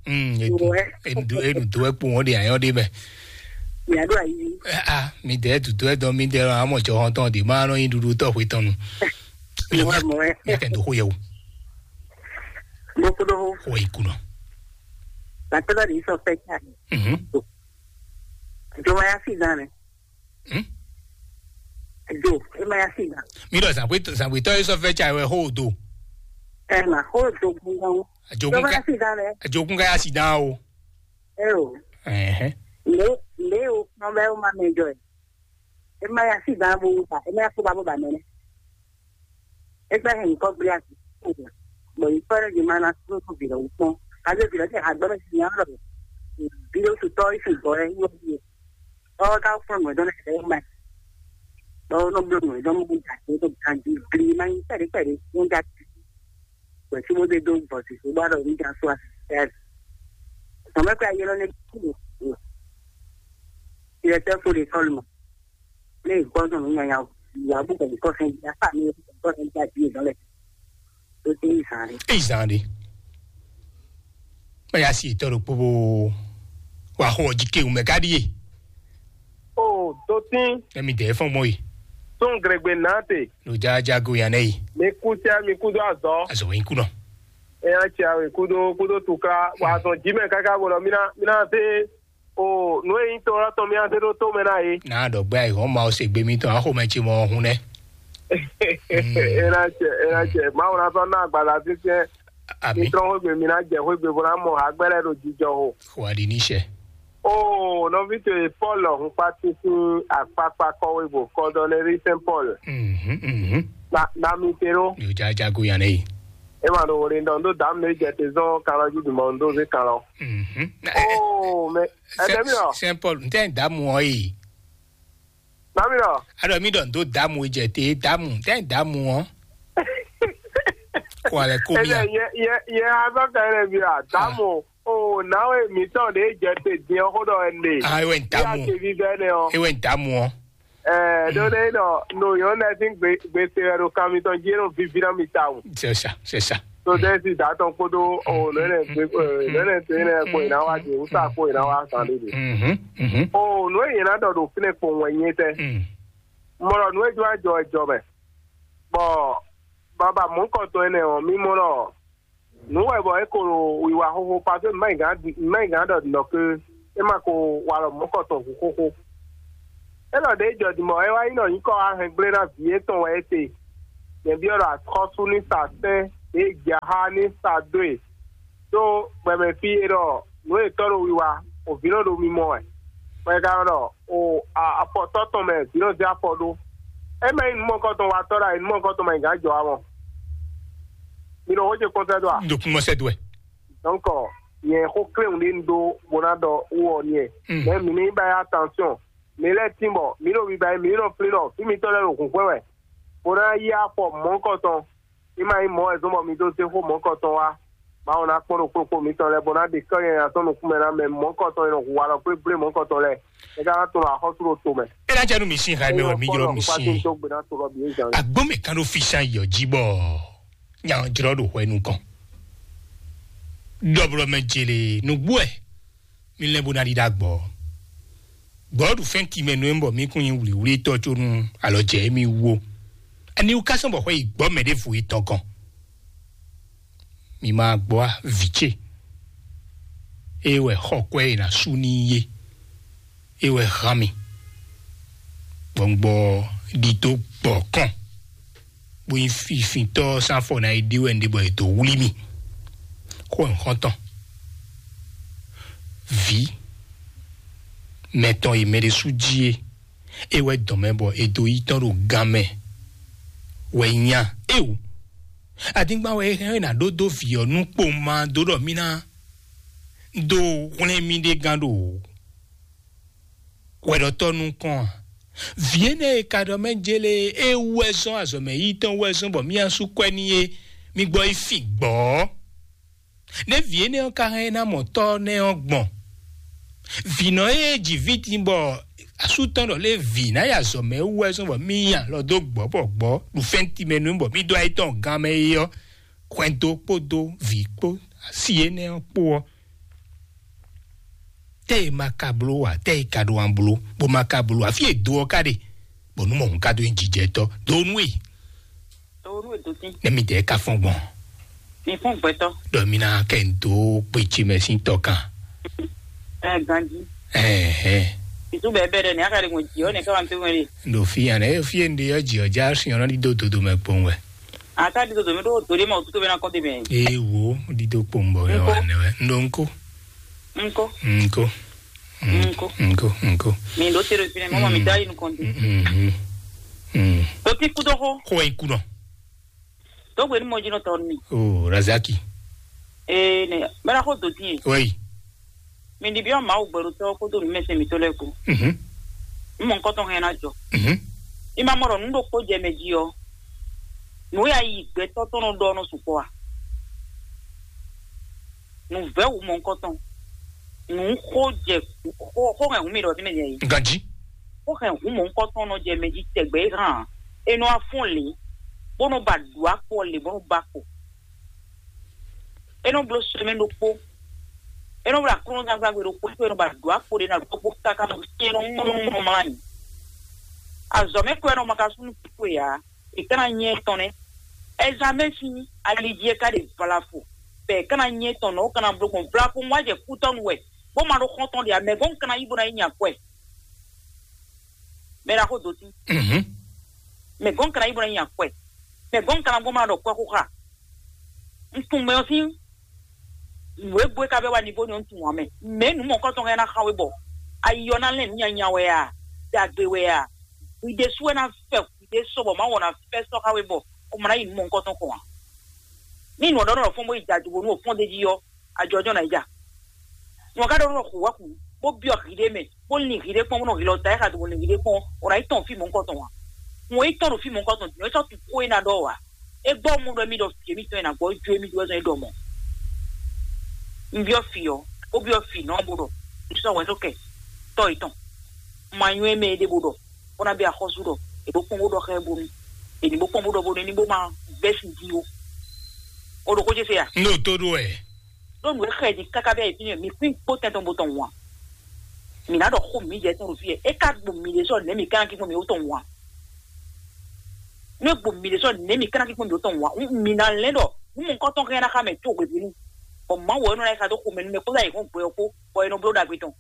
Mm, e du, e du, e du do wɛ kpo ɔ de ayɔ de mɛ. Yàrá ayi. Ah, mi dɛ du do wɛ dɔn mi dɛ lɔ amɔ jɔ hɔn tɔn de ma nɔ yin dudu tɔ ho tɔnu. Mi Mɔwɛ, mɔwɛ. Mi tɛ do ho yɛ o. Mo kudo ho. Ho yi kunɔ. Batɛlɛ de sɔ fɛ ca. Mhm. Jomaya si dan nɛ. Hmm? Jo, e ma ya si dan. Mi ɖɔ zǎngbetɔ zǎngbetɔ e sɔ fɛ ca wɛ xo do. Ɛ ma xo do gbɔngàn. Jomaya si dan lɛ. Ajogún ka ya si dan o. Ɛ o. Ɛhɛn. Le le o kpɔn bɛ o ma mɛ jɔ ɛ. E ma ya si dan bo ba, e ma ya ko ba bo ba mɛ nɛ. Egbé hɛn nyǐkɔ gblé asi. Bɔ nyǐkɔ ɖé ɖi ma ná súnú vǐ lɔ wú kpɔ́n. Kaɖó vǐ lɔ tɛ agbɔ́ mɛ sin nyá lɔ. Vǐ lɔ tutɔ yi sin gbɔ ɛ yɔ yi. Ɔ ka fún nǔ ɛdɔn lɛ ɛ ma. Ɔ nɔ bló nǔ ɛdɔn mú ja tó tó ganji gli ma nyi pɛɖe pɛɖe mú ja. Gbɛ tí mo dé dó gbɔ sí so bá ɖɔ mí ja so asi. Tɔmɛ kpɛ ayé lɔ lɛ kú. Ilẹ̀ tẹ́ fo de sɔlu mɔ. Ne gbɔ sɔn nu nyanya o. Wa bu kɛ kɔ fɛn ja fa mi kɔ fɛn ja di dɔn lɛ. Tó ti zan de. Eyi zan de. Mɛ ya si tɔ ɖo kpóbó. Wa xɔ jí kéwù mɛ ká ɖíe. O dotín. Ɛmi dɛ fɔn mɔ yi. Tún gregbe náà tè. Ló já jágo yan nɛ yi. Mi kú sí mi kú dó azɔ. Azɔ wɛn kú nɔ. Ɛ yà tsi awe kúdó kúdó tuká wà zɔn jí mɛ káká bó lɔ mí ná mí ná zé o nǔ e nyí to ɔ́ tɔn mí ná zé ɖó tó mɛ ná yé. Náà ɖɔ gbé ayǐ hɔn ma ɔ́ se gbé mítɔn axomɛ ce mɔ ɔ́ hún nɛ́. Ena cɛ ena cɛ Mawu ná sɔ́ ná agbaza fífíɛ́. Mí Ami. Trɔ́n xwégbe mí ná jɛ xwégbe bó ná mɔ hagbɛ́ lɛ́ɛ ɖo jijɔ xo. Xo aɖi ní sɛ. O nɔví towe Pɔ́lu hun kpátín sín akpákpá kɔ́wé bó kɔ́ ɖɔ lɛ́ rí sɛ́n Pɔ́lu. Mhm, mhm. Na na mi te ɖó. Yóò já jágo yan nɛ yi. E ma ɖo wòle ɖɔ ndo dǎmu ɖé jɛ te zɔn kan lɔ jí dùmɔ ndo zé kan lɔ. Mhm. Na- ɛ- Oh, mais, ɛ- Saint- dɛmi lɔ. Saint Paul, n tɛ n damu ɔ yi. Dami lɔ. Alɔ mi ɖɔ n do damu jɛ te damu, n tɛ n damu ɔ. Kɔ alɛ ko Ɛ bia. Yɛ yɛ yɛ azɔ ka yɛ bi la damu. Oh, nawe mi tɔn de jɛ te diɛ xo dɔ ɛnɛ. Ah, ewe n damu. Ya te vi bɛ ne ɔ. Ewe n damu ɔ. Ɛɛ, ɖó ɖe nɔ no yɔ nɛ sín gbe gbe se wɛ ɖo kan mitɔn jí e nɔ vivi ná mi tawun. C'est ça, c'est ça. To ɖe si da tɔn kpódó o nɔ ɛnɛ gbe nɔ ɛnɛ to ɛnɛ kpo yina wa di wusa kpo yina wa san ɖe ɖe. Mhm, mhm. O nɔ yina dɔ ɖo fínɛ kpo wɛn nyɛ tɛ. Mm. Mɔlɔ nɔ e jɔ ajɔ ɛjɔ mɛ. Bɔ baba mɔnkɔtɔn ɛnɛ ɔ mi mɔ nɔ nǔ wɛ bɔ é ko ɖo wiwa xoxo paseke mɛ gǎn mɛ gǎn ɖɔ nɔ ke é ma ko wa lɔ mɔ̌kɔ tɔn hu xóxó. É lɔ ɖě jɔ din bɔ é wá nyí ɖɔ nyǐkɔ wá hɛn gblé ná vǐ étɔn wɛ é te. Nyɛ byɔ́ ɖɔ axɔ́sú ní sa sɛ́n ɖě jɛ xá ní sa dó e. Ɖó gbɛmɛ fí e ɖɔ nǔ e tɔ́ ɖo wiwa, o vǐ nɔ ɖo mimɔ wɛ. Bɔ e ka nɔ ɖɔ o afɔtɔ́ tɔn mɛ vǐ nɔ zé afɔ ɖó. É mɛ nyí nǔ mɔkɔtɔn wa tɔ́ ɖo ayǐ, nǔ mɔkɔtɔn mɛ gǎn jɔ amɔ. Mi ɖo xó ce kpɔ́n sɛ́ dó a? Ɖo kún mɔ sɛ́ dó wɛ. Donc, nyɛ xó kléwún ɖé un ɖó bó ná ɖɔ wú ɔ n'i ɛ. Mɛ mǐ ní ba yá attention. Mǐ lɛ́ tín bɔ mǐ ɖo biba mǐ nɔ flín ɖɔ fí mitɔn lɛ́ɛ ɖo hǔnxwɛ́ wɛ, bó ná yí afɔ mɔ̌hunkɔtɔn. Ní ma nyí mɔ̌ wɛ zɔ́n bɔ mi dó zé xó mɔ̌hunkɔtɔn wá. Mawu ná kpɔ́n ɖo kplɔ́kpó mitɔn lɛ́ɛ bó ná ɖe kán nyanya tɔn nukúnmɛ ná mɛ mɔ̌hunkɔtɔn e nɔ hu walɔ kplékplé mɔ̌hunkɔtɔn lɛ́ɛ. É ka ná tunwun axɔ́sú ɖo to mɛ. É ná jɛ nú mi sín hɛmɛ wɛ mi jlɔ mi sín. Agbɔ́n mɛ kan ɖo físán yɔ jí bɔ nya jlɔ ɖo hwɛ nukɔn. Ɖɔblɔ mɛ jele nugbo ɛ. Mi lɛ́ bó ná ɖi ɖó agbɔ. Gbɔ̌ ɖu fɛ́n timɛ nú emi bɔ mi kún nyí wlǐwlítɔ́ có nú alɔ jɛ émí wú ó. Ani wú ká sɔ́ bɔ xwɛ yi gbɔ́ mɛ ɖěvo yi tɔgɔn? Mi ma gbɔ a, vǐ ce? É wɛ xɔ kwɛ e ná sú n'i é. É wɛ hán mi. Gbɔngbɔ ɖi dó gbɔ kɔn. Bó nyí fifintɔ́ sín afɔ ná yi ɖe wɛ un ɖe bɔ è dǒ wlí mì. Xó nyǐxɔ́ntɔn. Vǐ mɛtɔn e mɛ ɖé sú jí é, é wɛ dɔn mɛ bɔ è dǒ yi tɔn ɖo gan mɛ wɛ nya éwú. Adingban wɛ é hɛn ná ɖó dó vǐ ɔ́ nú kpowun ma dó ɖɔ mì ná dó hwlɛ́n mì ɖe gán ɖo hwɛɖɔtɔ́ nukɔn a? Vǐ énɛ́ e ka ɖɔ mɛ jélé é wú wɛ zɔ́n azɔ̌mɛ yi tɔn wú wɛ zɔ́n bɔ mì asú kwɛ n'i é, mi gbɔ yi fin gbɔ̌. Nɛ̌ vǐ énɛ́ ɔ́ ka hɛn ná mɔ tɔ́ nɛ́ ɔ́ gbɔn? Vǐnɔ e ji vǐ din bɔ asú tɔn ɖɔ lé vǐ ná yi azɔ̌mɛ wú wɛ zɔ́n bɔ mì nyi alɔ dó gbɔ̌ bɔ gbɔ̌ ɖu fɛ́n timɛ nú bɔ mì dó ayé tɔn gán mɛ é ɔ́, hwɛndo kpódó vǐ kpó asi énɛ́ ɔ́ kpó ɔ́, tɛ́ e ma ka bló ǎ, tɛ́ e ka ɖo an bló, bó ma ka bló ǎ, fí e do ɔ́ ka ɖe, bɔ nú mɔ̌hun ka dó nyi jijɛtɔ́ dó nú e. Dó nú e dó tín. Nɛ́ mi dɛɛ ka fɔ́n gbɔn? Mi fɔ́n gbɛtɔ́. Ɖɔ mi ná kɛ n dó kpé ce mɛ sín tɔ kan. Ɛ ganji. Ɛhɛn. Ìtú bɛɛ bɛɛ ɖɛ ní a ka ɖe gbɔn jì ɔ́ nɛ ká wá ń pé wɛn ɖe. Ɖo fí yan ɛ fí e n ɖe ɔ́ jì ɔ́ já sin ɔ́ nɔ ɖi dó dodo mɛ kpowun wɛ. Ata ɖi dodo mɛ ɖo do ɖe ma o tuto bɛ na kɔn de mɛ. Ee wo ɖi dó kpowun bɔ yɔ wà nɛ wɛ. N ɖo ŋko. Ŋko. Ŋko. Ŋko. Ŋko. Ŋko. Mi ɖo te ɖo fi nɛ mɔ mi da yi nukɔn di. Mm. O ti kú dɔ xɔ. Xɔ yi kú nɔ. Dɔgbe ni mɔ jinɔ tɔ ni. O Razaki. Ee ne mɛ na xɔ do ti ye. Wɛyi. Mi ɖi biɔ Mawu gbɛɖotɔ́ kpódó nǔmɛsɛn mǐtɔn lɛ́ɛ kpó. Mhm. Nú mɔ nukɔntɔn hɛn ná jɔ. Mhm. I ma mɔ ɖɔ nǔ ɖokpó jɛ mɛ jí ɔ́, nǔ ya yi gbɛtɔ́ tɔn nɔ ɖɔ nɔ sukpɔ́ a? Nǔ vɛ́ wǔ mɔ nukɔntɔn. Nǔ xó jɛ xó xó hɛn hǔn mi ɖɔ fínɛ́ jɛ yi. Ganjí. Xó hɛn hǔn mɔ nukɔntɔn nɔ jɛ mɛ jí tɛgbɛ é hán. É nɔ wá fɔ́n lě, bó nɔ ba ɖǔ akpɔ lě, bó nɔ ba kpo. É nɔ bló sɛmɛ ɖokpó. É nɔ bló aklúnɔzangban gbe ɖokpó, é nɔ ba ɖǒ akpo ɖé ná ɖokpó káká nɔ sí é nɔ mlɔ́ mlɔ́ mlá nyi. Azɔ̌ mɛ kɔ é nɔ ma ka súnnu kúkú e ǎ. È ká ná nyɛ tɔn nɛ́. Ɛzamɛ sín ali jí é ká ɖe vlafo. Bɛ è ká ná nyɛ tɔn nɔ, ó ká ná bló gbɔn vlafo wá jɛ kútɔ́nu wɛ, bó ma ɖó xɔ́ntɔn ɖe ǎ, mɛ gɔ́n un ka ná yí bó ná yi nya kwɛ. Mɛ ɖaxó dó tín. Mhm. Mɛ gɔ́n un ka ná yí bó ná yi nya kwɛ. Mɛ gɔ́n un ka ná gbɔn ma ɖɔ kwɛ xó xa. Un tunwun mɛ ɔ́ sín nǔ e gbo é ka bɛ́ wá ní bó ní ɔ́, un tunwun ǎ mɛ. Mɛ nǔ mɔ̌hunkɔtɔn hɛn ná xa we bɔ ayi ɔ́ ná lɛ́n nǔ nyanya wɛ a, ɖagbe wɛ a, hwi ɖésú wɛ ná fɛ hwi ɖé sɔ bɔ Mawu ná fɛ sɔ́ xa we bɔ xɔmɔ ná yi nǔ mɔ̌hunkɔtɔn kɔn ǎ. Ní nǔ ɔ́ ɖɔ nɔ fɔ́n bó yi da do bónú o fɔ́n d'é jí ɔ́, ajɔjɔ ná yi ja. Nú ɔ́ ka ɖɔ nɔ xu wá xu, bó byɔ́ hǐɖé mɛ, bó lin hǐɖé kpɔ́n, bó nɔ hǐlɔ ta é xa do bó lin hǐɖé kpɔ́n, o ná yi tɔn fí mɔ̌hunkɔtɔn ǎ. Hǔn e yi tɔ́n ɖo fí mɔ̌hunkɔtɔn din ɔ́, é sɔ́ tunwun xó e ná ɖɔ ǎ. É gbɔ mɔ ɖɔ émí ɖɔ fǐ émítɔn e nǎ gbɔ jó émí ɖó wɛ zɔn é ɖɔ mɔ̌. Un byɔ́ fǐ ɔ́, bó byɔ́ fǐ nɔ bó ɖɔ, sɔ́ hwɛ̌ sɔ́ kɛ tɔ́ yětɔn. Ma nywɛ́ mɛ é ɖé bó ɖɔ, bó ná bɛ axɔ́sú ɖɔ, è bó kpɔ́n bó ɖɔ xá ɛ bónú, è ní bó kpɔ́n bó ɖɔ bónú é ní bó má vɛ́ sin jí ó. O ɖo xó ce se a? N ɖo tó ɖó wɛ. Ɖó nǔ e xɛ din káká bɛ́ yě fínɛ́, mi kún kpó tɛn tɔn bó tɔn wǎn. Mǐ ná ɖɔ xó mǐ jɛ tɔn ɖo fí e é ka gbo mǐ ɖésú nɛ̌ mǐ ka ná kí gbɔn mǐ ó tɔn wǎn. Nú é gbo mǐ ɖésú nɛ̌ mǐ ka ná kí gbɔn mǐ ó tɔn wǎn. Mǐ ná lɛ́n ɖɔ nú mɔ nukɔntɔn hɛn ná xa mɛ có hwebǐnu. Bɔ Mawu ɔ́ nɔ ná yi xa dó xomɛ nú mɛ kpódó ayǐhɔ́ngbe ɔ́ kpó, bɔ è nɔ bló ɖagbe tɔn.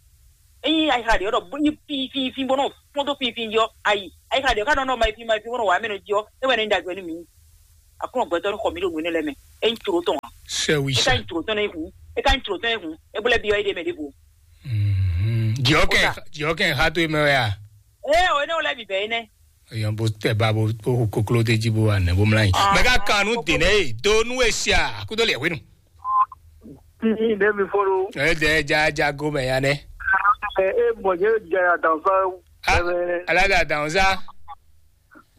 Ényí ayixa ɖě ɔ́ ɖɔ bó nyí fínfínfín bó nɔ fɔ́n dó fínfín jí ɔ́, ayi. Ayixa ɖě ɔ́ ka nɔ nɔ ma yi fín ma yi fín bó nɔ wa mɛ nɔ jí ɔ́, é wɛ nɔ nyí ɖagbe nú mǐ. Aklúnɔ gbɛtɔ́ ɖo xɔ mì ɖo nǔ énɛ́ lɛ́ɛ mɛ. É nyí tlǒ tɔn ǎ. Sɛwisa. É ka nyí tlǒ tɔn nɛ hǔn. É ka nyí tlǒ tɔn nɛ hǔn. É bó lɛ́ byɔ́ éɖée mɛ ɖěvo. Mhm. Jɔkɛ, Kódà. Jɔkɛ ha to mɛ wɛ a? Ée o énɛ́ o lɛ́ bǐ bɛ́ énɛ́. Yɔn bó tɛ ba bó bó hu koklo de jí bó wa nɛ bó mlá yi. Ah, mɛ ka kan nu kókó. Dènɛ yi do nu e sia akudo lɛ wenu. Tí ɖe mi fɔ́n ɖó. Ɛ dɛ ja ja go mɛ ya nɛ. Ɛ ɛ mɔ jẹ́ jẹ́ àdàmúsá. Ah, ẹ̀rẹ̀. Alága dànzá.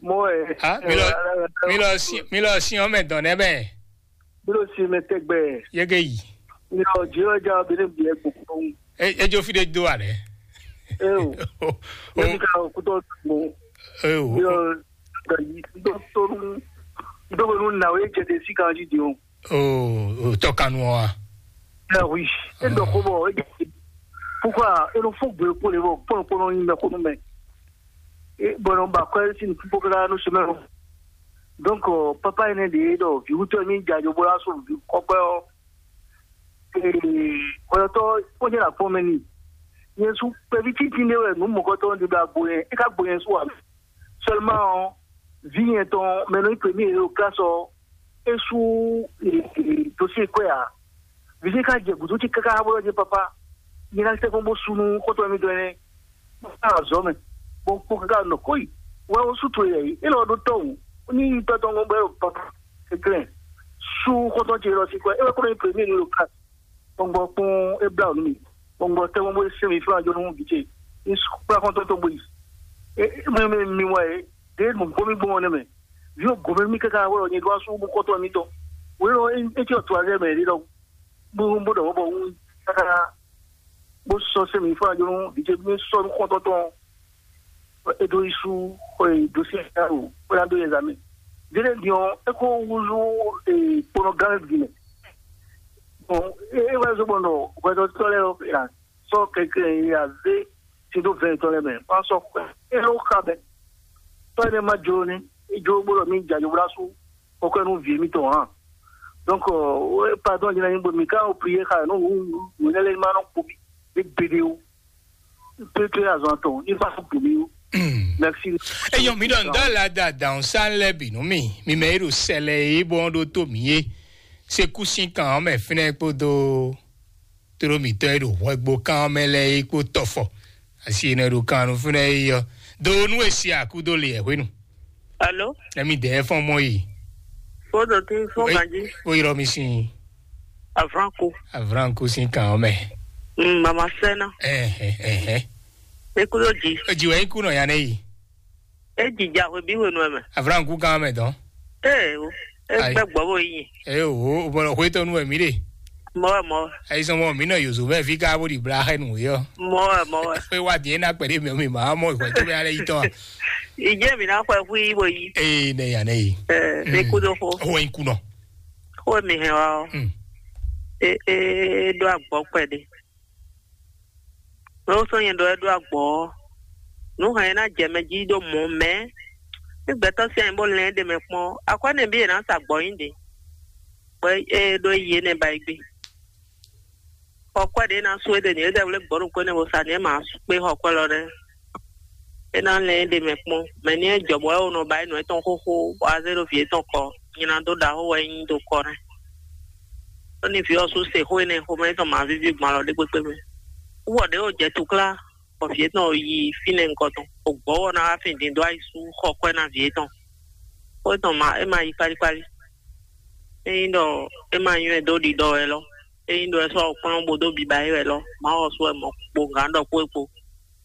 Mọ́ ẹ̀. Ah, mi lọ, mi lọ sí, mi lọ sí ọmọ ẹ̀dán nẹ bẹ́ẹ̀. Bí ló ṣe mẹ tẹ́gbẹ́ ẹ̀? Yege yi. Mi lọ jí ọjà obìnrin bí ẹ gbogbo. Ẹ ẹ jó fi de do alẹ. Ẹ o. O Yẹ́nì ká òkútọ́ gbogbo. Ẹ o. Bí ọ gbà yìí tó tó ń dógbónú nàwé jẹ́dẹ̀ sí kan jíjìn o. O o tọkanu wa. Ẹ wí. Ẹ dọ̀ kó bọ̀ ẹ jẹ́. Púpọ̀ ẹ ló fún gbé kó lè bọ̀ pọ́npọ́n yín mẹ́kúnnú mẹ́. Bɔn ba kɔ si ni kpókpó ka nú semaine. Donc papa ene ɖe ɖɔ viwutɔ mi dza jo bó la so vi kɔkɔɛ ɔ. Kɔyɔtɔ kpɔnyɛ la kpɔn mɛ ni. Yẹn su pɛvi titi ne wɛ nu mɔkɔtɔ ne ɖe agbo yẹn e ka gbo yẹn su wa. Seulement ɔ vi yẹn tɔn mɛ nɔ yi premier o classe ɔ e su dossier kɔɛ a. Visi ka jɛ gǔdo ce káká bó ɖɔ jɛ papa, nyɛ ná tɛ́ kpɔ́n bó sú nú xɔ́ntɔn mitɔn énɛ́. Bó ká azɔ̌ mɛ, bó kpó káká nɔ kó yi. Wɛ ó sú towe yɛ yi, é lɔ ɖó tɔ́ wǔ, ní yi tɔ́ tɔn gɔ́n bɔ é ɖo papa kɛnklɛ́n sú xɔ́ntɔn ce lɔ sí kwɛ, é wɛ kó nɔ nyí premier nu ɖo ka. Gbɔngbɔ kpɔ́n é blá wǔ nú mi, gbɔngbɔ tɛ́ kpɔ́n bó é sɛ́n mi flá jó nú vǐ ce, ní sú kplá xɔ́ntɔn tɔn bó yi. É mɛ mɛ mi wɛ é, ɖě nǔgbó mi gbɔn ɔ́ nɛ́ mɛ. Vǐ ɔ́ gǒmɛ mì káká wɛ ɔ́, nyɛ ɖó asú bó xɔ́ntɔn mitɔn. Wě ɔ́, é é cyɔ to azɛ mɛ ɖé ɖɔhun. Bó bó ɖɔ bɔ wú káká bó sɔ́ sɛ́ mǐ fún ajɔnú vǐ ce mí sɔ́ nú xɔ́ntɔn tɔn. É ɖó yísú xɔ e dó sí alo xwé ná dó yɛ zǎmɛ. Délé din ɔ́, é kó húzú kponɔ gán bǐ mɛ. Bɔn é wá zó gbɔn ɖɔ hwɛtɔ́tɔ́ lɛ́ɛ ɔ́, sɔ́ kɛnklɛ́n e a zé sin dó vɛ̌ɛn tɔn lɛ́ɛ mɛ, bó ná sɔ́ xwɛ é ló xa bɛ́. Tɔ́ énɛ́ ma jló ní, é jló bó ɖɔ mí jɛ ajɔgbla sú kɔ́kɔ́ nú vǐ émítɔn ǎ. Donc, pardon, jɛ́n nyí bɔ mǐ ka o prier xa nú nǔ énɛ́ lɛ́ɛ ma nɔ kpo mì ní gbeɖé ó. Pété azɔn tɔn ní ma kpo mì ó. Merci. Eyɔn mi ɖɔ ŋdɔ la da dàn sá lɛ bì nú mi mi mɛ ero sɛlɛ yi bɔ ɖó tó mi yé. Sekú sín kan ɔmɛ fínɛ kpódó tlómítɔ́ e ɖo hwɛgbo kan ɔ́ mɛ lɛ́ɛ é kpó tɔfɔ asi e nɔ ɖo kan nú fínɛ́ é ɔ́ dó nú e si akúdó le ɛ hwenu. Alo? Ɛmi dɛɛ fɔn mɔ yi. Fodo ti fɔn ganji. Ó yrɔ mi sin. Avranku. Avranku sin kan ɔ́ mɛ. Mm, mama sɛna. Ɛhɛ ɛhɛ. Ekudo ji. Ó ji wɛ ikú nɔ ya nɛ yi. E jija hwe bí hwenu ɛ mɛ. Avranku kan mɛ dɔn. Ee o. E gbɛ gbɔ bo yi. Ee o, o bɔlɔ hwe tɔnu wɛ mi de. Mɔ wɛ mɔ wɛ. Ayi sɔn mɔ mi nɔ yozo mɛ fi ka bo di bla hɛ nu yɔ. Mɔ wɛ mɔ wɛ. Hwe wa di ena kpɛ de mɛ mi ma mɔ hwe to bɛ ale yi tɔn. Ije mi na xɔ fu yi bo yi. Ee ne ya ne yi. Ee ne kudo xo. Hwe kunɔ. Xo mi hɛn wa o. Mm. E e do agbɔ kpɛ de. Lɔ sɔ́ nyɛ ɖɔ é ɖó agbɔ̌ ɔ́, nǔ hɛn e ná jɛ mɛ jí ɖó mɔ̌ mɛ. Ní gbɛtɔ́ sín anyǐ bó lɛ́n ɖe mɛ kpɔ́n, akwɛ́ nɛ́ bí è nǎ sa gbɔ̌ nyi ɖe, bɔ é ɖó yi énɛ́ ba yi gbé. Xɔ kwɛ́ ɖě ná sú é ɖe nǔ é ɖɛvlé gbɔ̌ ɖokpó énɛ́ bó sa nǔ é mǎ kpé xɔ kwɛ́ lɔ ɖɛ́. É ná lɛ́n é ɖe mɛ kpɔ́n, mɛ ní é jɔ bɔ é wǒ nɔ ba é nǔ étɔn xóxó, bɔ azé ɖo vǐ étɔn kɔ, nyina dó ɖaxó wɛ é nyí dó kɔ nɛ́. Ɖó ní vǐ ɔ́ sú se xó énɛ́ xomɛ étɔn mǎ víví gbɔn alɔ ɖé kpékpé mɛ. Wú ɔ ɖě wǒ jɛ tuklá, bɔ vǐ étɔn yi fínɛ́ nukɔn tɔn, bɔ gbɔ̌ ɔ́ ná wá fin din dó ayi sú xɔ kwɛ́ ná vǐ étɔn. Xó étɔn ma é ma yi kpálíkpálí. Ényí ɖɔ é ma nywɛ́ dó ɖiɖɔ wɛ lɔ, ényí ɖɔ é sɔ́ kplɔ́n bó dó biba é wɛ lɔ, Mawu ɔ́ sú wɛ mɔ kpo gǎn ɖɔ kpó é kpo.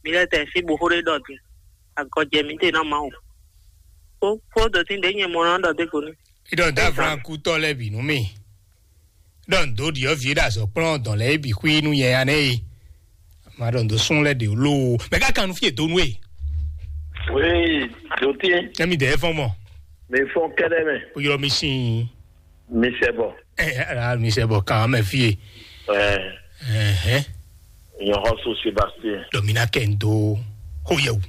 Mi lɛ́ tɛ sín bo xó ɖé ɖɔ din, agɔjɛ mǐtɛn ná Mawu. Kó kó dɔ̌tín ɖě nyɛ mɔ ná ɖɔ dé go ní. Idɔn da Abraham kútɔ lɛ bì nú mi. Idɔn dó ɖiɔ vi ɖe azɔ kplɔn dɔn lɛ bi xwi nú yɛ ya nɛ yi. Ma ɖɔ ndo sún lɛ ɖe lo. Mɛ ka kan nu fie donu e. Oui, dɔtín. Ɛmi dɛ fɔn mɔ. Mi fɔn kɛɖɛ mɛ. O yɔrɔ mi sin. Mi sɛ bɔ. Ɛ ɛ mi sɛ bɔ kan mɛ fie. Ɛ. Ɛhɛn. Nyɔxɔso Sébastien. Dɔ mi na kɛ n do xó yɛ wu.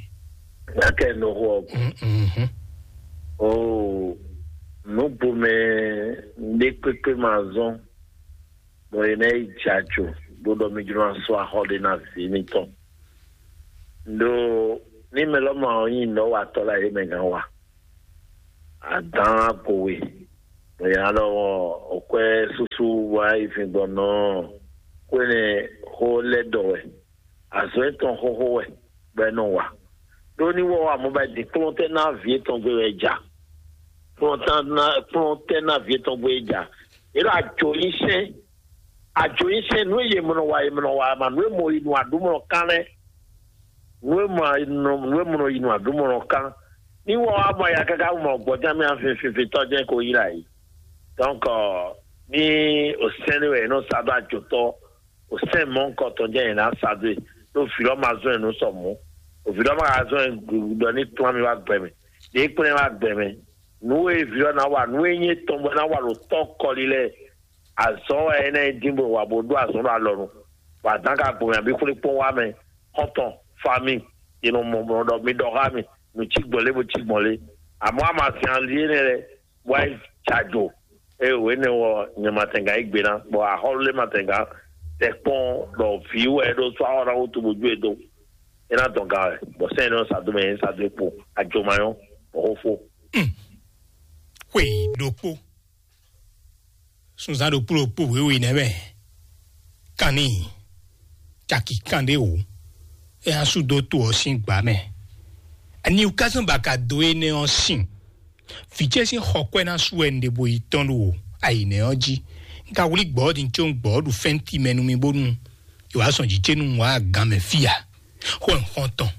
Na kɛ n do xó ɔ. Mhm. Oo, nǔgbomɛ ɖé kpékpé ma zɔn bɔ è nɔ yi jajo bó ɖɔ mí jló ná sú axɔ ɖé ná vǐ mitɔn. Ɖó ní mɛ lɔ ma ɔ́ nyí nɔ̌watɔ́ lɛ́ɛ é mɛ gán wa. Adǎn agowe Nya ɖɔ ɔ́, òkwɛ́ súsú wá yi fin gbɔn nɔ xwéne xó lɛ́ ɖɔ wɛ, azɔ̌ etɔn xóxó wɛ bɔ é nɔ wa. Ɖó ní wɔ wa mɔ bɔ din kplɔ́n tɛ́ ná vǐ etɔn gbe wɛ ja. Kplɔ́n tɛ́ ná kplɔ́n tɛ́ ná vǐ etɔn gbe ja. É ɖo ajo nyi sɛn, ajo nyi sɛn nǔ e yě mɔ nɔ wa, yě mɔ nɔ wa ma nǔ e mɔ yi nɔ aɖǔ mɔ nɔ kán lɛ́ɛ. Nǔ e mɔ nɔ nǔ e mɔ nɔ yi nɔ aɖǔ mɔ nɔ kán. Ní wɔ wa mɔ ya káká mɔ gbɔjá mì afinfinfin tɔ́ jɛ́n ko yi la yi. Donc, ní o sɛn ní wɛ è nɔ sa ɖó ajotɔ, o sɛn mɔ nukɔntɔn jɛ́n è nǎ sa dó e, ɖó vǐ lɔ ma zɔn ɛ nú sɔ mɔ̌, o vǐ lɔ ma ka zɔn ɛ ɖɔ ní kplɔ́n mì wá gbɛ mɛ, ɖě kplɔ́n ɛ wá gbɛ mɛ. Nǔ e vǐ lɔ ná wa, nǔ e nyí étɔn bɔ é ná wa ɖo tɔ́ kɔli lɛ́ɛ, azɔ̌ wɛ é ná nyí dín bó wa bó ɖó azɔ̌ ɖo alɔ nu, bɔ adǎn ka gbo mɛ abí xwlé kpɔ́n wá mɛ, xɔ́ntɔn, fami, è nɔ mɔ mɔ ɖɔ mi ɖɔ xá mi, nǔ cí gbɔn lé bó cí gbɔn lé. Amɔ̌ a ma zɛn ali énɛ́ lɛ́ɛ, wá yi cajo. Ée wěnɛ́ ɔ́, nyɛ ma tɛngán yí gbe ná, bɔ axɔ́lú lɛ́ɛ ma tɛngán tɛ kpɔ́n ɖɔ vǐ wɛ é ɖó sú axɔ́ ná wútu bó jó e dó. É ná dɔn ga wɛ, bɔ sɛ́n e nɔ sa dó mɛ é sa dó e kpo, ajo ma nyɔ́, bɔ xó fó. Xwe ɖokpó, sunzán ɖokpó ɖokpó wěwe nɛ́ mɛ, kanní caki kanɖé wǒ, é ná sú dó to ɔ́ sín gbǎ mɛ. Ani wú ká zɔ́n ba ka dó énɛ́ ɔ́ sin? Vǐ ce sín xɔkwɛ́ ná sú wɛ un ɖe bo yi tɔ́n ɖo ayǐnɛ́ ɔ́ jí. Un ka wlí gbɔ̌ din có un gbɔ̌ ɖu fɛ́nti mɛ nú mì bónú è wǎ zɔn jǐ ce nú un wǎ gan mɛ fí ǎ. Xó ɛ xɔ́ntɔn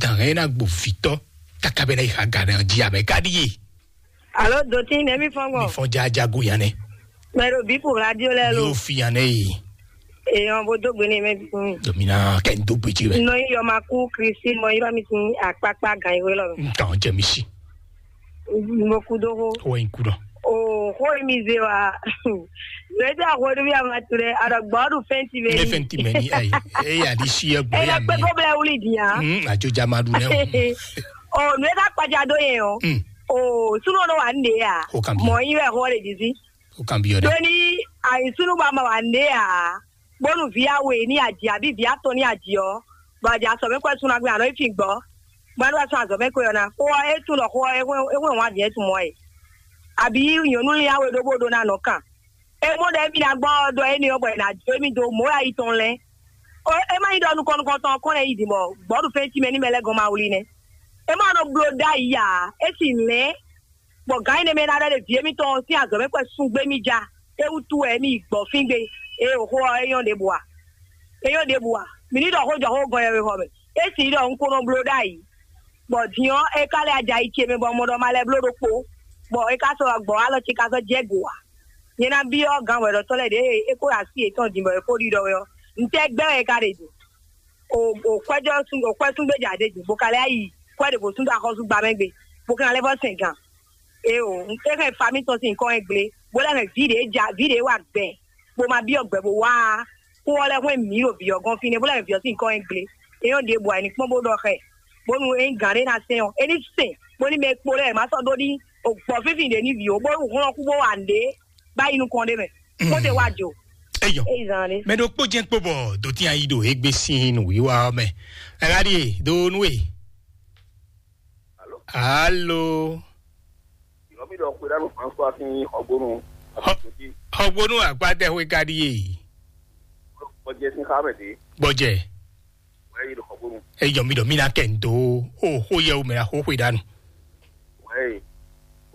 dǎn ɛ ná gbo vǐtɔ́ káká bɛ́ ná yi xa gan ɔ́ jí abɛ ká ɖíe. Alo, dotí nɛ́ mi fɔ́n gbɔn? Mi fɔn jaja go yan nɛ. Mɛ ɖo bí pour radio lɛ lo. Yóò fi yan nɛ yi. Èèyàn bó dógbe ní mɛ bí fún mi. Domina kɛ n dógbe jí rɛ. Nɔ yí yɔ ma kú Kristi mɔ yí bá mi sin àkpákpá gan ìwé lɔ. N kàn jẹ mi si. Mo kú dógó. Wọ́n yín kú dán. O xó mi ze wa. Zɔɛ tí a xɔ ɖo bí a ma tu ɖe, a ɖɔ gbɔ ɖu fɛn ti bɛ. Ne fɛn ti mɛ ni ayi. Eye adi si yɛ gbɔ ya mi. Eye kpɛkɔ bla wuli di ya. Hmm, ajo ja ma ɖu nɛ o. O nu e ka kpaja do yɛ o. Hmm. O sunu nɔ wa n de ya. O kan bi. Mɔ yi wɛ xɔ de di si. O kan bi yɔ dɛ. Doni ayi sunu ba ma wa n de ya. Bonu vi awe ni aji abi vi atɔn ni aji ɔ, bɔ aji asɔ mɛ kɔ sun na gbe anɔ ifi gbɔ. Gbanu wa sun azɔ mɛ kɔ yɔ na. Xɔ e tun lɔ xɔ e wɛ wa diɛ tun mɔ e. Abi nyɔnu li awe ɖo bo ɖo na nɔ kan. E mo ɖe mi na gbɔ dɔ e ni ɔ bɔ e na jo mi do mo ya yi tɔn lɛ. O e ma yi dɔ nukɔn nukɔn tɔn kɔn lɛ yi di mɔ gbɔdu fɛn ti mɛ ni mɛ lɛ gɔn ma wuli nɛ. E ma nɔ blo da yi ya, e si lɛ. Bɔ gǎn énɛ́ mɛ ná ɖɔ ɖe vǐ émítɔn sín azɔ̌ mɛ kpɛ́ sún gbé mì ja. É wútu wɛ mì yi gbɔ̌ fín gbe. Ée wǒ xó ɔ́, é nyɔ́ ɖěbǔ a? É nyɔ́ ɖěbǔ a? Mǐ ní ɖɔ xó jɔ xó gɔn yɛhwexɔ mɛ. É sǐ ɖɔ un ko nɔ bló ɖ'ayǐ. Bɔ din ɔ́, é ka lɛ́ aja yi ce mɛ bɔ un mɔ ɖɔ ma lɛ́ bló ɖokpó. Bɔ é ka sɔ́ gbɔ̌ alɔ ce ka sɔ́ jɛ go ǎ. Nyɛ ná byɔ́ gǎn hwɛɖɔtɔ́ lɛ́ɛ ɖě é kó ɖo así yětɔn din bɔ é kó ɖiɖɔ wɛ ɔ́, ntɛ́ gbɛ́ wɛ é ka ɖe din? O o kwɛjɔ sun o kwɛ sun gbé ja ɖe din bó ka lɛ yi kwɛ ɖe bó sun da xɔsu gba mɛ gbe bó ka lɛ fɔ sɛn gan. E o e hɛn fami tɔn sin kɔ hɛn gble bó lɛ hɛn vi ɖe ja vi ɖe wa gbɛ bó ma biɔ gbɛ bó wa kó ɔ lɛ hwɛn mi ɖo vi ɔ gɔn fi ne bó lɛ hɛn vi ɔ sin kɔ hɛn gble e yɔ ɖe bɔ ayi kpɔn bó ɖɔ xɛ bónú e gan ɖe na sɛn ɔ e ní sɛn bó ní mɛ kpo lɛ ma sɔ ɖó ní o gbɔ fífi ɖe ní vi o bónú hlɔn kú bó wa nɖe bá yi nukɔn ɖe mɛ kó te wa jo. Eyɔ. Eyi zan ɖe. Mɛ ɖokpó jẹ́ kpó bɔ dòtí ayi ɖo égbé sín nǔwiwa ɔ́ mɛ. Ɛ̀rá ɖíe ɖo nú e. Alo. Yɔmi ɖɔ xwe ɖanu François sín xɔgbónu. Xɔgbónu àgbádẹ́hùn ká ɖíe. Gbɔjɛ sín xá mɛ dé. Gbɔjɛ. Wɛ yi ɖo xɔgbónu. Eyɔ mi ɖɔ mi na kɛ ndo o xó yɛ o mɛ na xó xwe ɖanu. Wɛ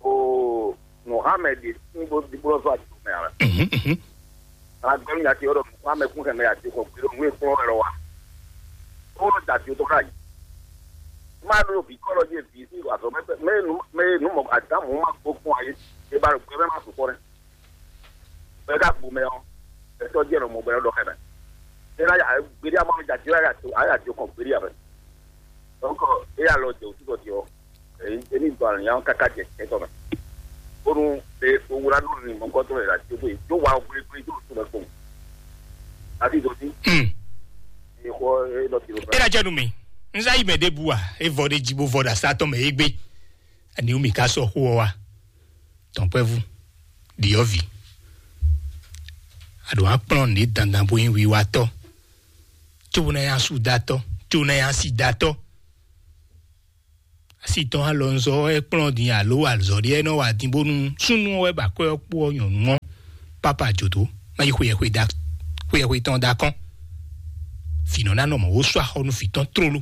o Mohammed ní bó di bó zɔ àti mɛ ara. Mhm, mhm. Agbẹnu yàtí ọ̀rọ̀ Mohammed kún kẹmẹ yàtí kọ gbèrò nù èkó ọ̀rọ̀ wa. Ó lọ dàtí tó ká yìí. Má ló bí kọ́ lọ yé bí sí àtọ̀ mẹ́nu mọ́ àdámù má gbó fún ayé. Ìbá rẹ̀ gbé mẹ́ má sùn kọ́ rẹ̀. Bẹ́ẹ̀ ká gbó mẹ́ ọ́. Ẹ̀tọ́ jẹ́ ọ̀rọ̀ mọ̀ bẹ́ẹ̀ lọ́dọ̀ kẹ́mẹ́. Ẹ náà gbèrè àmọ́ mi jà jẹ́ àyà tó kàn gbèrè àbẹ̀. Donc, e ya lɔ jɛ wǔtu dɔ diɔ. Emi dɔ alɔ nyawo kaka jɛ kɛtɔ mɛ. Bonu e owura nɔ ni mɔkɔtɔ yɛ la ti ko yi do wa gbegbegbe do tu mɛ ko. Ati do ti. Hmm. E xɔ e dɔ ti do. E la jɛ nu mi. N za yi mɛ de bu wa. E vɔ de ji bo vɔ da sa tɔ mɛ egbe. Ani mi ka sɔ xo wa. Tɔnkpɛvu. Diɔvi. Aɖo akplɔn ne dandan bo yin wiwatɔ. Tso na ya su datɔ. Tso na ya si datɔ. Asi tɔn alɔnzɔ ɛ kplɔ́n din alo azɔ̌ ɖé ɛ nɔ wa din bónú súnnu ɔ́ wɛ ba kwɛ ɔ́ kpó ɔ́ nyɔ̌nu ɔ́, papa jǒdó má yi xweyɛxwe da xweyɛxwe tɔn da kɔn. Vǐ nɔ ná nɔ mɔ̌ wó sú axɔ nú vǐ tɔn tlóló.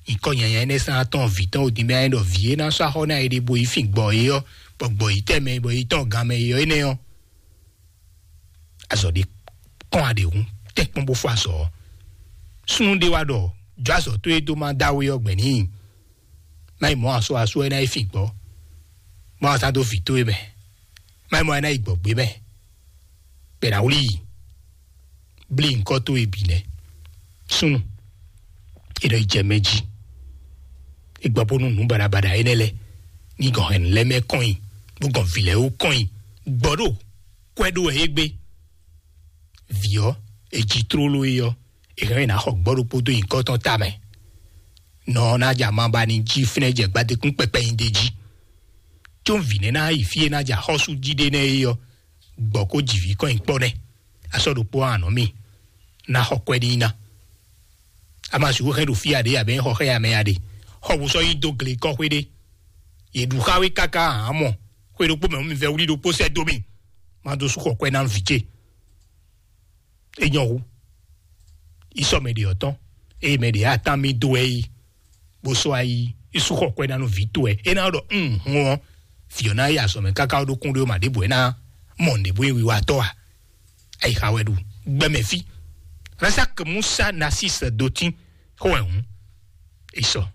Nyǐkɔ nyanya énɛ́ sán tɔn vǐ tɔn odin bɛ ɛ ɖɔ vǐ e ná sú axɔ ná e ɖe bo yi fin gbɔ é ɔ́, bɔ gbɔ yi tɛmɛ bɔ yi tɔn ganmɛ é ɔ́ énɛ́ ɔ́. Azɔ ɖé kɔn aɖe hun tɛ́nkpɔ́n bó fɔ azɔ ɔ́. Súnnu ɖé wá ɖɔ jɔ azɔ tó e dó má dá we ɔ́ gbɛ̌ n'i. Má yi mɔ̌ asɔ asɔ ɛ ná yi fin gbɔ. Má wá sá dó vǐ towe mɛ. Má yi mɔ ɛ ná yi gbɔgbé mɛ. Bɛ ná wlí yi. Blí ŋkɔ towe bǐ nɛ́. Súnnu. E ɖɔ yi jɛ mɛ jí. E gbɔ bónú nǔ baɖabaɖa énɛ́ lɛ ní gɔn hɛn lɛ́ mɛ kɔn nyi, bó gɔn vǐ lɛ́ɛ wú kɔn nyi. Gbɔ ɖo kwɛ ɖó wɛ é gbé. Vǐ ɔ́, è ji tlóló é ɔ́, è hɛn ná xɔ gbɔ ɖokpó dó nyǐkɔ tɔn tamɛ. Nɔ ɔ́ ná ja ma ba ní jí fínɛ́ jɛ gbadékún kpɛkpɛ nyi d'é jí. Có vǐ nɛ́ ná yi fí e ná ja xɔ́sú jí ɖé nɛ́ é ɔ́, gbɔ kó ji vǐ kɔn nyi kpɔ́ nɛ́. Asɔ ɖokpó anɔ mì ná xɔ kwɛ n'i ná. A ma sixú hɛn ɖo fí aɖě abɛ xɔ xɛ amɛ aɖě. Xɔ wǔ sɔ́ yi dó gle kɔ́xwé ɖé. Yě ɖu xá wé káká hǎn mɔ. Xwé ɖokpó mɛ mi vɛ wlí ɖokpó sɛ́ dó mì. Má dó sú xɔ kwɛ ná vǐ ce. É nyɔ́ hú. Yi sɔ mɛ ɖě ɔ́ tɔn. Eye mɛ ɖě atán mì dó ɛ yi. Bó sɔ́ ayi. Yi sú xɔ kwɛ ná nú vǐ towe. É ná ɖɔ un hun ɔ́. Vǐ ɔ́ ná yi azɔ̌ mɛ káká ɖó kún ɖé ma ɖěbǔ é ná mɔ nǔɖé bó yi wiwa tɔ́ a. Ayi xa wɛ ɖu. Gbɛmɛ fí. Razak Musa Nasis Dotin. Xó wɛ hǔn. Yi sɔ.